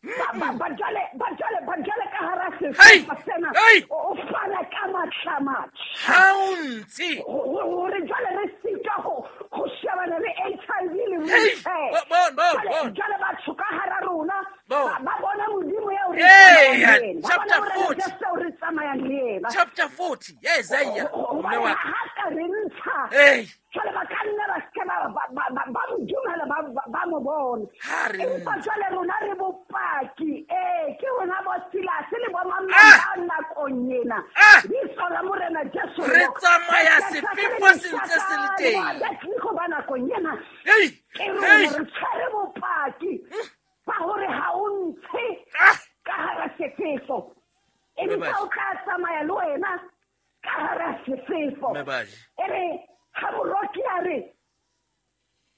S3: Ba, jwale, ba, jwale, ba, jwale ka hara
S2: Hey!
S3: sehlopha sena,
S2: Hey!
S3: o fana ka matla matjha.
S2: Ha o ntshe.
S3: Hore jwale re sitwa ho shebana le HIV le
S2: Hey!
S3: wheelchair.
S2: Bon, bon,
S3: Jwale,
S2: bon.
S3: jwale batho ka hara rona,
S2: Bon.
S3: ba bona Modimo eo re
S2: Hey,
S3: tsamayang le yena. Ba
S2: chapter
S3: bona Morena
S2: 40.
S3: Jesu eo re tsamayang le yena.
S2: Chapter 40. Yes, Isaiah.
S3: Hobane
S2: Mme wa
S3: ha ka re ntsha,
S2: Hey.
S3: jwale ba ka nna ba seke ba mo dumela, ba mo bona.
S2: Ha re
S3: Empa
S2: ntsha.
S3: jwale rona re bopaki. Ee, ke rona bo Silas le bo mang
S2: Ah!
S3: ba nakong ena.
S2: Ah!
S3: Bitso la Morena Jesu
S2: Re
S3: le
S2: tsamaya
S3: Ba
S2: sefefo se ntse se le teng.
S3: Ba Ba ba nakong ena.
S2: Hey!
S3: Ke rona
S2: Hey!
S3: re tshwere bopaki ba hore ha o ntshe
S2: Ah!
S3: ka hara sefefo.
S2: Mme
S3: Empa
S2: Baji.
S3: o tla tsamaya le wena ka hara sefefo.
S2: Mme Baji.
S3: E re ha moroki a re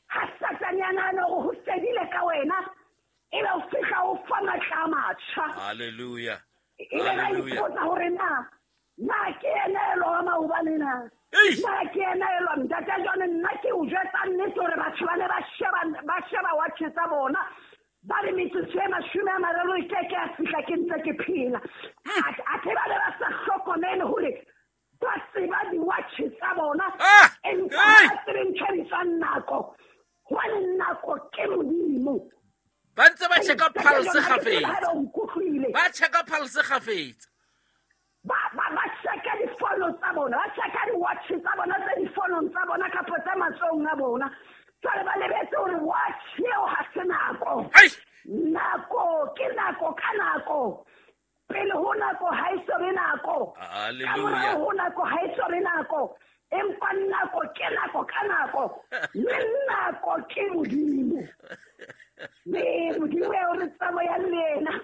S3: ha Satane a nahana hore ho fedile ka wena, ebe o fihla o fa matla a matjha.
S2: Hallelujah.
S3: Ebe ba
S2: Hallelujah.
S3: ipotsa hore na ke ena elwa wa maobane na?
S2: Ei!
S3: Na ke ena elwa? Ntate John, nna ke o jwetsa nnete hore batho ba ne ba sheba watch tsa bona. Ba re metsotso e 30 e keke ya fihla ke ntse ke phela. Athe ba ne ba sa hlokomele hore ba tseba di-watch tsa bona.
S2: Ah!
S3: Empa
S2: Ei!
S3: ba tsebe ntho e bitswang nako. Hobane nako ke Modimo.
S2: Ba ntse ba checka
S3: Ntate
S2: pulse
S3: John, ha ke tsebe
S2: kgafetsa.
S3: haeba o nkutlwile.
S2: Ba checka pulse kgafetsa.
S3: Ba checka difono tsa bona, ba checka di-watch tsa bona tse difonong tsa bona kapa tse matsohong a bona. Jwale ba lebetse hore watch eo ha se nako.
S2: Ai!
S3: Nako ke nako ka nako. Pele ho nako ha e so be nako. Ka
S2: Hallelujah.
S3: morao ho nako ha e so be nako. Empa nako ke nako ka nako. Mme nako ke Modimo. Mme Modimo eo re tsamayang le yena,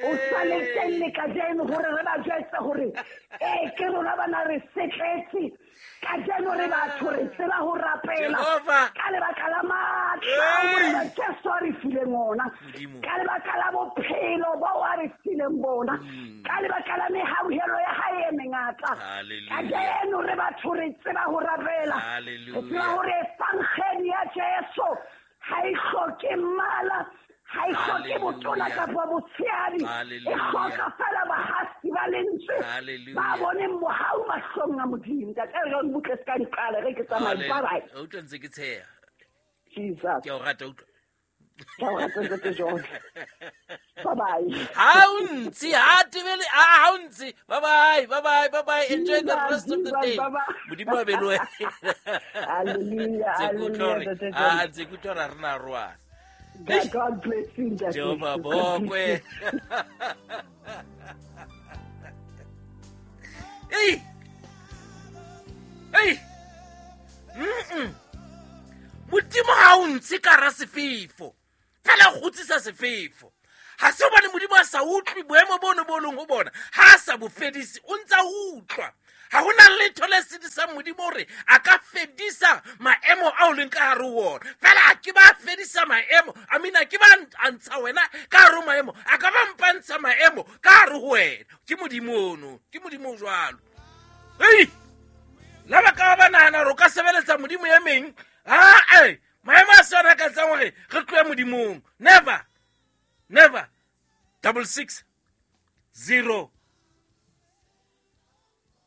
S3: o sale teng le kajeno hore re ba jwetse hore, ee, ke rona bana re setletse. Kajeno re batho re tseba ho rapela.
S2: Jehova.
S3: Ka lebaka la matla a
S2: Hey.
S3: Morena Jesu a re fileng ona.
S2: Modimo.
S3: Ka lebaka la bophelo bo a re fileng bona. Ka lebaka la mehauhelo ya hae e mengata.
S2: Hallelujah.
S3: Kajeno re batho re tseba ho rapela.
S2: Hallelujah.
S3: Re tseba hore evangeli ya Jesu ha e hloke mmala, ha e hloke botona
S2: Hallelujah.
S3: kapa botshehadi. E
S2: Hallelujah.
S3: hloka fela bahasi ba lentswe
S2: Hallelujah.
S3: ba boneng mohau mahlong a Modimo. Ntate John, butle se ka nqala, re ke tsamaye.
S2: Hallelujah.
S3: Bye bye.
S2: O utlwa ntse ke tsheha.
S3: Jesus.
S2: Ke a o rata, utlwa.
S1: Ka o rata Ntate John. Bye bye.
S2: Ha o ntse, ha tebele, ha o ntse. Bye bye, bye bye, bye bye. Enjoy the rest of the day. Modimo a be le wena.
S1: Hallelujah, hallelujah, Ntate John.
S2: Ah, ntse ke utlwa hore ha re na roana.
S1: God bless you, Ntate.
S2: Jehova bokwe. Ei! Ei! Modimo ha o ntshe ka hara sefefo. Fela o kgutsisa sefefo. Ha se hobane Modimo a sa utlwe boemo bono bo leng ho bona, ha a sa bo fedise, o ntsa utlwa. Ha hona letho le sedisang Modimo hore a ka fedisa maemo ao leng ka hare ho ona. Fela a ke ba fedisa maemo, I mean a ke ba ntsha wena ka hare ho maemo, a ka ba mpa ntsha maemo ka hare ho wena. Ke Modimo ono, ke Modimo o jwalo. Ei! La ba ka ba nahana hore o ka sebeletsa Modimo e meng, ha-e, maemo a se ona ka etsang hore re tlohe Modimong. Never. Never. 66 0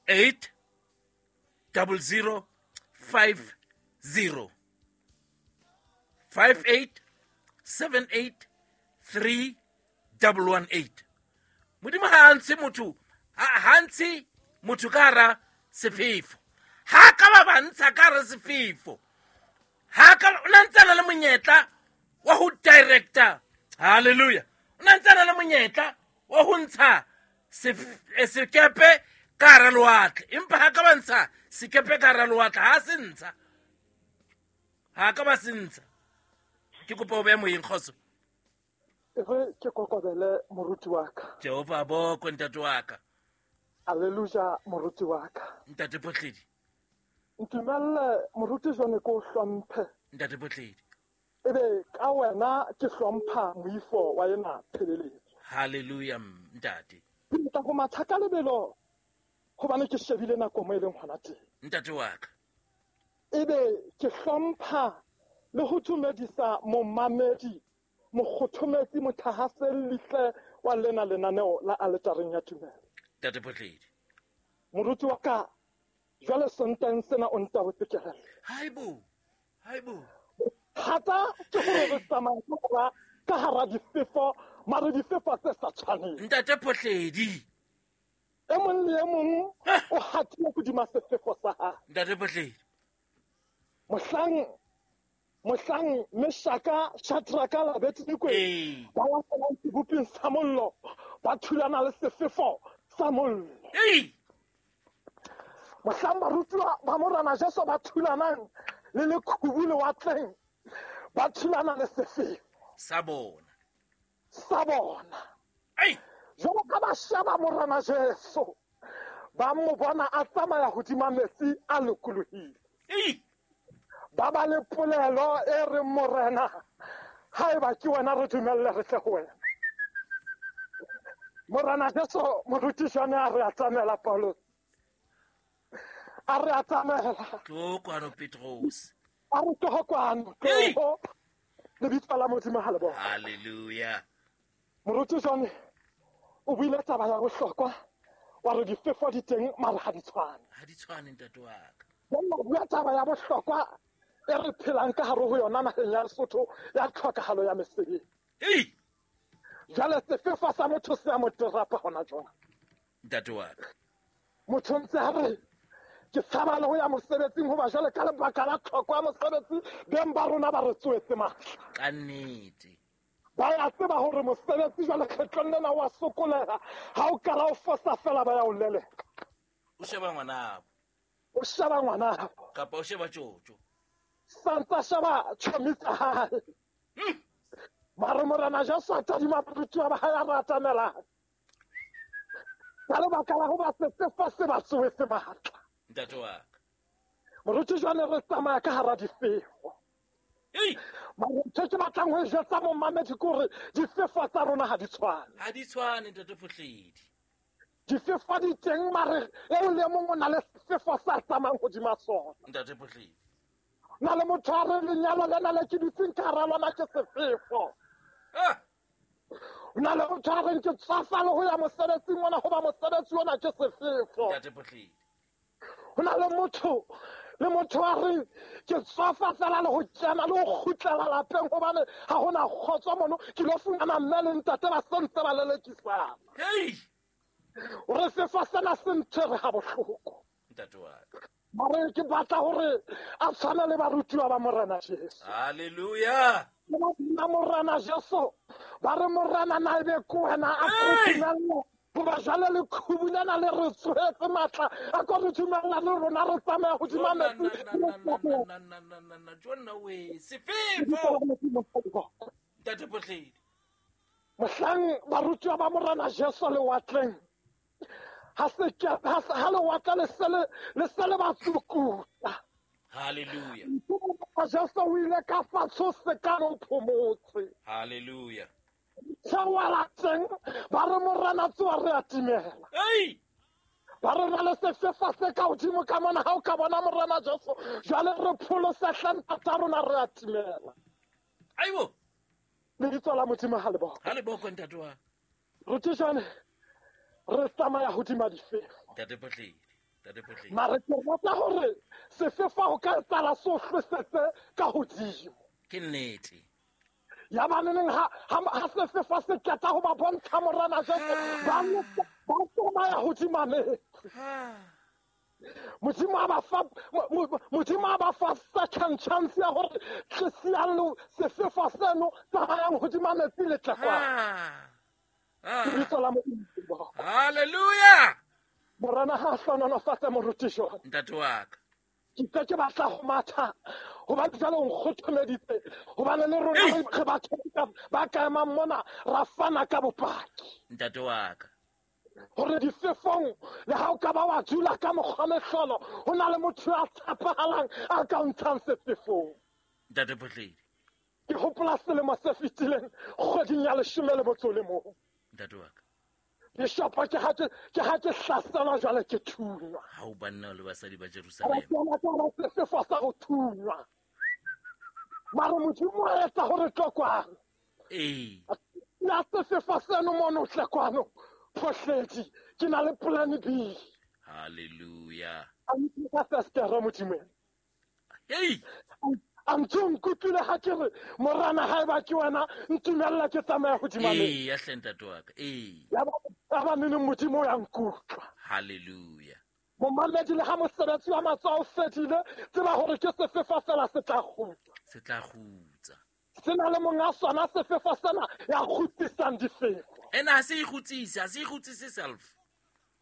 S2: 8 00 5 0 5 8 7 8 3 1 1 8. Modimo ha a ntshe motho, ha ntshe motho ka hara sefefo. Ha ka ba ntsha ka hara sefefo. Ha ka o na ntse na le monyetla wa ho director. Hallelujah. O na ntse na le monyetla wa ho ntsha sekepe ka hara lewatle. Empa ha ka ba ntsha sekepe ka hara lewatle, ha se ntsha. Ha ka ba se ntsha. Ke kopa o behe moyeng, kgotso.
S4: Re ke kokobele moruti wa ka.
S2: Jehova bokwe ntate wa ka.
S4: Hallelujah moruti wa ka.
S2: Ntate Photledi.
S4: Ntumelle moruti John ko hlomphe.
S2: Ntate Photledi.
S4: Ebe ka wena ke hlompha moifo wa yena tshebeletso.
S2: Hallelujah ntate.
S4: Ke tla go matha ka lebelo hobane ke shebile nako mo e leng hona teng.
S2: Ntate wa ka.
S4: Ebe ke hlompha le ho tumedisa momamedi mokgothometsi mothahasellihle wa lena lenaneo la aletareng ya tumelo.
S2: Ntate Photledi.
S4: Moruti wa ka jwale Sontaha sena o ntabotse kelello.
S2: Haibo. Haibo.
S4: Thata ke hore re tsamaya ka hara difefo, mare difefo tse sa tshwaneng.
S2: Ntate Photledi.
S4: E mong le e mong o hatile hodima sefefo sa hae.
S2: Ntate Photledi.
S4: Mohlang Meshaka, Shadraka la Abednego ba wa seboping sa mollo, ba thulana le sefefo sa mollo. Mohlang barutiwa ba Morena Jesu ba thulanang le lekhubu lewatleng, ba thulana le sefefo
S2: sa bona.
S4: Sa bona. Jwalo ka ba sheba Morena Jesu, ba mo bona a tsamaya hodima metsi a lokolohile. Ba ba le polelo e reng Morena, haeba ke wena re dumelle re tle ho wena. Morena Jesu moruti John a re atamela Paulo. A re atamela.
S2: Tlo kwano Petros.
S4: A re tlo kwano. Tlo. Lebitso la Modimo ha le bona.
S2: Hallelujah.
S4: Moruti John o buile taba ya bohlokwa wa re difefo di teng mare ha di tshwane.
S2: Ha di tshwane ntate wa ka.
S4: Jwale bua taba ya bohlokwa e re phelang ka hare ho yona naheng ya Lesotho ya tlhokahalo ya mesebetsi. Jwale sefefo sa motho se a mo terapa hona jwale.
S2: Ntate wa ka.
S4: Motho ntse a re ke tshaba le ho ya mosebetsing hoba jwale ka lebaka la tlhoko ya mosebetsi beng ba rona ba re tsoetse matla.
S2: Ka nnete.
S4: Ba ya tseba hore mosebetsi jwale kgetlong lena wa sokoleha, ha o kala o fosa fela ba ya o leleka.
S2: O sheba ngwanabo.
S4: O sheba ngwanabo.
S2: Kapa o sheba tjotjo.
S4: Santsa sheba tjhomi tsa hae. Mare Morena Jesu a tadima barutiwa ba hae a re atamela. Ka lebaka la hoba sefefo se ba tsoetse matla.
S2: Ntate wa ka.
S4: Moruti jwale re tsamaya ka hara difefo. Mare ntho ke batlang ho e jwetsa momamedi ke hore difefo tsa rona ha di tshwane.
S2: Ha di tshwane ntate Photledi.
S4: Difefo di teng mare eo le mong o na le sefefo sa tsamayang hodima sona.
S2: Ntate Photledi.
S4: Na le motho a re lenyalo lena le ke dutseng ka hara lona ke sefefo. Na le motho a reng ke tswafa le ho ya mosebetsing ona hoba mosebetsi ona ke sefefo.
S2: Ntate Photledi.
S4: Ho na le motho Le motho a reng ke tswafa fela le go kena le go kgutlela lapeng gobane ga gona kgotso mono ke lo fumana mme le ntate ba sentse ba lelekisana. Ore sefo sena se ntshwere ga bohloko.
S2: Ntate wa ka.
S4: Mare ke batla gore a tshwane le barutiwa ba Morena Jesu.
S2: Hallelujah.
S4: Ba Morena Jesu ba re Morena na ebe ke wena a ko goba jwale le khubu lena le re tsohetse matla a ko re dumella le rona re tsamaya hodima metsi.
S2: Jonna we sefefo. Ntate Phohledi.
S4: Mohlang barutiwa ba Morena Jesu lewatleng ha lewatle le se le ba tsukutla.
S2: Hallelujah.
S4: Jesu o ile ka fatshe se ka no phomotse.
S2: Hallelujah.
S4: Tshawala teng ba re Morena tsoa re atimela. Ba re na le sefefo se ka hodimo ka mona ha o ka bona Morena Jesu jwale re pholosa hlantata rona re atimela.
S2: Aibo.
S4: Lebitso la Modimo ha le boko.
S2: Ha le boko ntate wa.
S4: Rutishane re tsamaya hodima difefo.
S2: Ntate Phohledi. Ntate Phohledi.
S4: Mare ke rata hore sefefo ho ka tsala sohlosetse ka hodimo.
S2: Ke nnete.
S4: Ya ba neneng ha sefefo se qeta ho ba bontsha Morena Jesu ba tsamaya hodima metsi. Modimo a ba fa second chance ya hore tlisiang le sefefo seno tsamayang hodima metsi le tle kwa. Lebitso la Modimo.
S2: Hallelujah.
S4: Morena ha hlohonolofatse moruti jwang.
S2: Ntate wa ka.
S4: Ke ke batla go matha gobane jalo o nkgothomeditse gobane le rona re batho ba ka emang mona ra fana ka bopaki.
S2: Ntate wa ka.
S4: Gore difefong le ha o ka ba wa dula ka mokgwa mehlolo ho na le motho ya tshepahalang a ka o ntshang sefefong.
S2: Ntate Phohledi.
S4: Ke hopola selemo se fetileng kgweding ya 11.
S2: Ntate wa ka.
S4: Bishopo ke ha ke hlaselwa jwale ke thunywa.
S2: Ha o banna le basadi ba Jerusalema.
S4: Ba sefefo sa go thunywa. Mare Modimo a etsa hore tlo kwano.
S2: Ee.
S4: Na sefefo seno mono tle kwano. Phohledi ke na le plan B.
S2: Hallelujah.
S4: A ntse ka Modimo.
S2: Hey.
S4: A ntse nkutlwile ha ke re Morena ha eba ke wena ntumella ke tsamaya hodima metsi.
S2: Ee, ya hle ntate wa ka. Ee.
S4: Ya ba nene Modimo ya nkutlwa.
S2: Hallelujah.
S4: Momamedi le ha mosebetsi wa matsoho o fedile tseba hore ke sefefo fela se tla kgutla.
S2: Se tla kgutsa.
S4: Se na le monga sona sefefo sena ya kgutlisang difefo.
S2: Ena ha se ikgutsise, ha se ikgutsise self.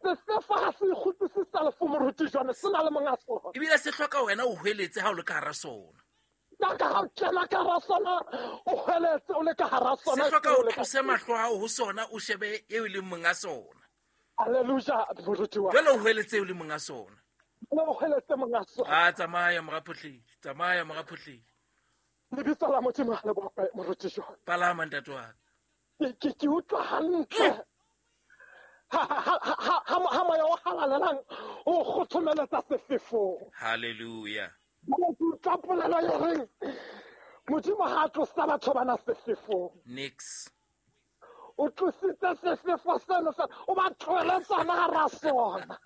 S4: Sefefo ha se ikgutsise self moruti jwane se na le monga sona.
S2: Ebile se hloka wena o hweletse ha o le ka hara sona.
S4: Ka ha o kena ka hara sona o hweletse o le ka hara sona.
S2: Se hloka o tlose mahlo a hao ho sona o shebe eo e leng monga sona.
S4: Hallelujah moruti wa.
S2: Jwale o hweletse eo e leng monga sona.
S4: O hweletse monga sona.
S2: A tsamaya mora Phohledi, tsamaya mora Phohledi.
S4: Lebitso la Modimo ha le bokwe moruti jwane.
S2: Palama ntate wa ka.
S4: Ke utlwa hantle. Ha moya o halalelang o kgothomeletsa sefefong.
S2: Hallelujah.
S4: Ke utlwa polelo e reng Modimo ha a tlosa batho bana sefefong.
S2: Nix.
S4: O tlositse sefefo seno fela o ba tlohele tsona hara sona.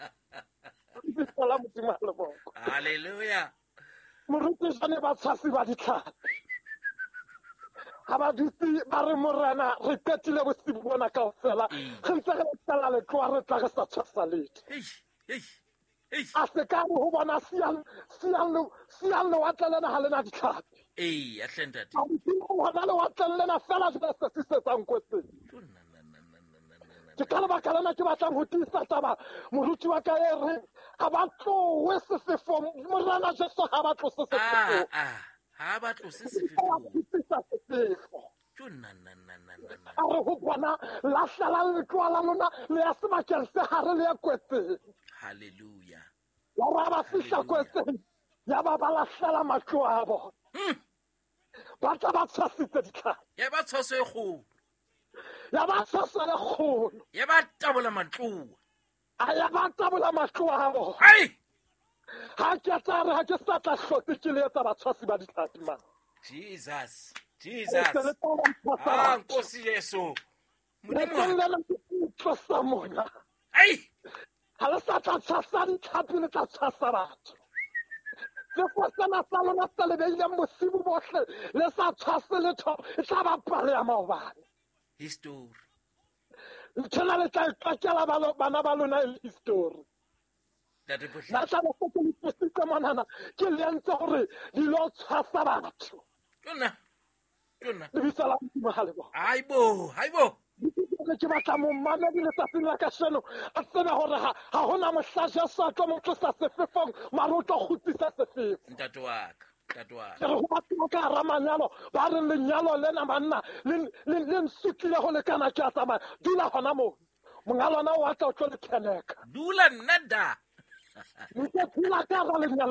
S4: Lebitso la Modimo ha le bokwe.
S2: Hallelujah.
S4: Moruti jwane ba tshwasi ba ditlhapi. Ha ba dutse ba re Morena re qetile bosibu bona kaofela re ntse re tsela letloa re tla re sa tshwasa letho. A se ka re ho bona siang lewatle lena ha lena ditlhapi.
S2: Ee, ya hle ntate.
S4: A hona lewatleng lena fela jwale se sisetsang kwetseng. Ke ka lebaka lena ke batlang ho tiisa taba moruti wa ka e reng ha ba tlohe sefefong. Morena Jesu ha ba tlose sefefong.
S2: Ha ba tlose sefefong.
S4: A re ho bona lahlelang letloa la lona le ya sebakeng se hare le ya kwetseng.
S2: Hallelujah.
S4: Ya ba fihla kwetseng ya ba ba lahlela matloa a bona. Ba tla ba tshwasitse ditlhapi.
S2: Ya ba tshwaso e kgolo.
S4: Ya ba tshwaso e kgolo.
S2: Ya ba tabola matloa.
S4: A ya ba tabola matloa a bona.
S2: Ai!
S4: Ha ke tla re ha ke sa tla hlotse ke le etsa batshwasi ba ditlhapi man.
S2: Jesus. Jesus. Ah, Nkosi Jesu. Modimo
S4: tlosa mona.
S2: Ai!
S4: Ha le sa tla tshwasa ditlhapi le tla tshwasa batho. Sefo sena sa lona se le beileng bosibu bohle le sa tshwase letho, e tla ba pale ya maobane.
S2: History.
S4: Nthwena le tla e qakela bana ba lona e le history.
S2: Ntate Potlako.
S4: Nna tla be se ke le tlositse monana, ke le entse hore di lo tshwasa batho.
S2: Tona. Tona.
S4: Lebitso la Modimo ha le bone.
S2: Haibo, haibo.
S4: Ke batla momamedi letsatsing la kasheno a tsebe hore ha hona mohla Jesu a tlo mo tlosa sefefong, mare o tlo kgutlisa sefefo.
S2: Ntate wa ka, ntate wa ka.
S4: Ke re ho batho ba ka hara manyalo, ba reng lenyalo lena banna le nsutlile ho lekana, ke a tsamaya. Dula hona moo. Monga lona o a tla o tlo le theneka.
S2: Dula nna da.
S4: Ntse dula ka hara lenyalo.